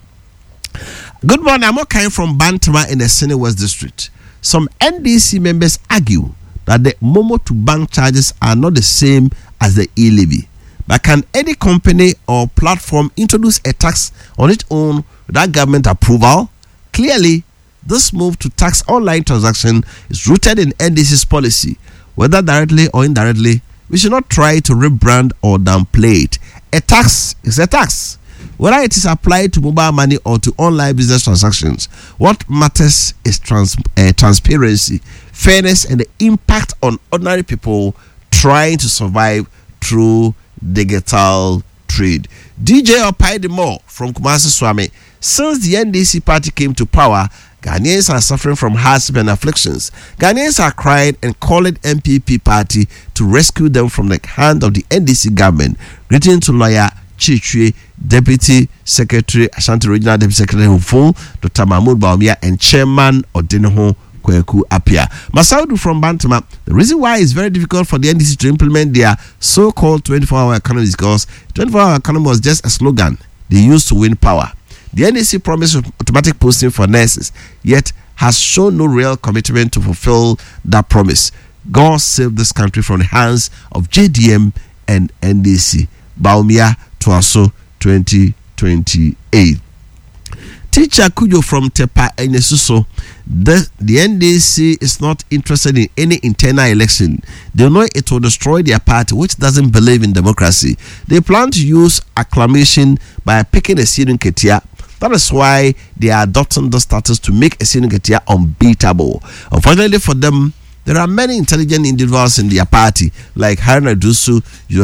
Good morning. I'm okay from Bantama in the Sene West District. Some N D C members argue that the Momo to bank charges are not the same as the e-levy. But can any company or platform introduce a tax on its own without government approval? Clearly, this move to tax online transaction is rooted in N D C's policy, whether directly or indirectly. We should not try to rebrand or downplay it. A tax is a tax, whether it is applied to mobile money or to online business transactions. What matters is trans- uh, transparency, fairness, and the impact on ordinary people trying to survive through digital trade. D J Opaidimo from Kumasi Swami. Since the N D C party came to power, Ghanaians are suffering from hardship and afflictions. Ghanaians are crying and calling N P P party to rescue them from the hand of the N D C government. Greeting to lawyer Chichwe, Deputy Secretary, Ashanti Regional Deputy Secretary Huful, Doctor Mahmoud Bawumia, and Chairman Odinho Kweku Apia. Masaudu from Bantama. The reason why it's very difficult for the N D C to implement their so-called twenty-four-hour economy is because twenty-four-hour economy was just a slogan they used to win power. The N D C promised automatic posting for nurses, yet has shown no real commitment to fulfill that promise. God save this country from the hands of J D M and N D C. Bawumia Tuaso twenty twenty-eight. Teacher Kujo from Tepa Enesuso, the, the N D C is not interested in any internal election. They know it will destroy their party, which doesn't believe in democracy. They plan to use acclamation by picking Asiedu Nketia. That is why they are adopting the status to make Asiedu Nketia unbeatable. Unfortunately for them, there are many intelligent individuals in their party, like Haruna Iddrisu,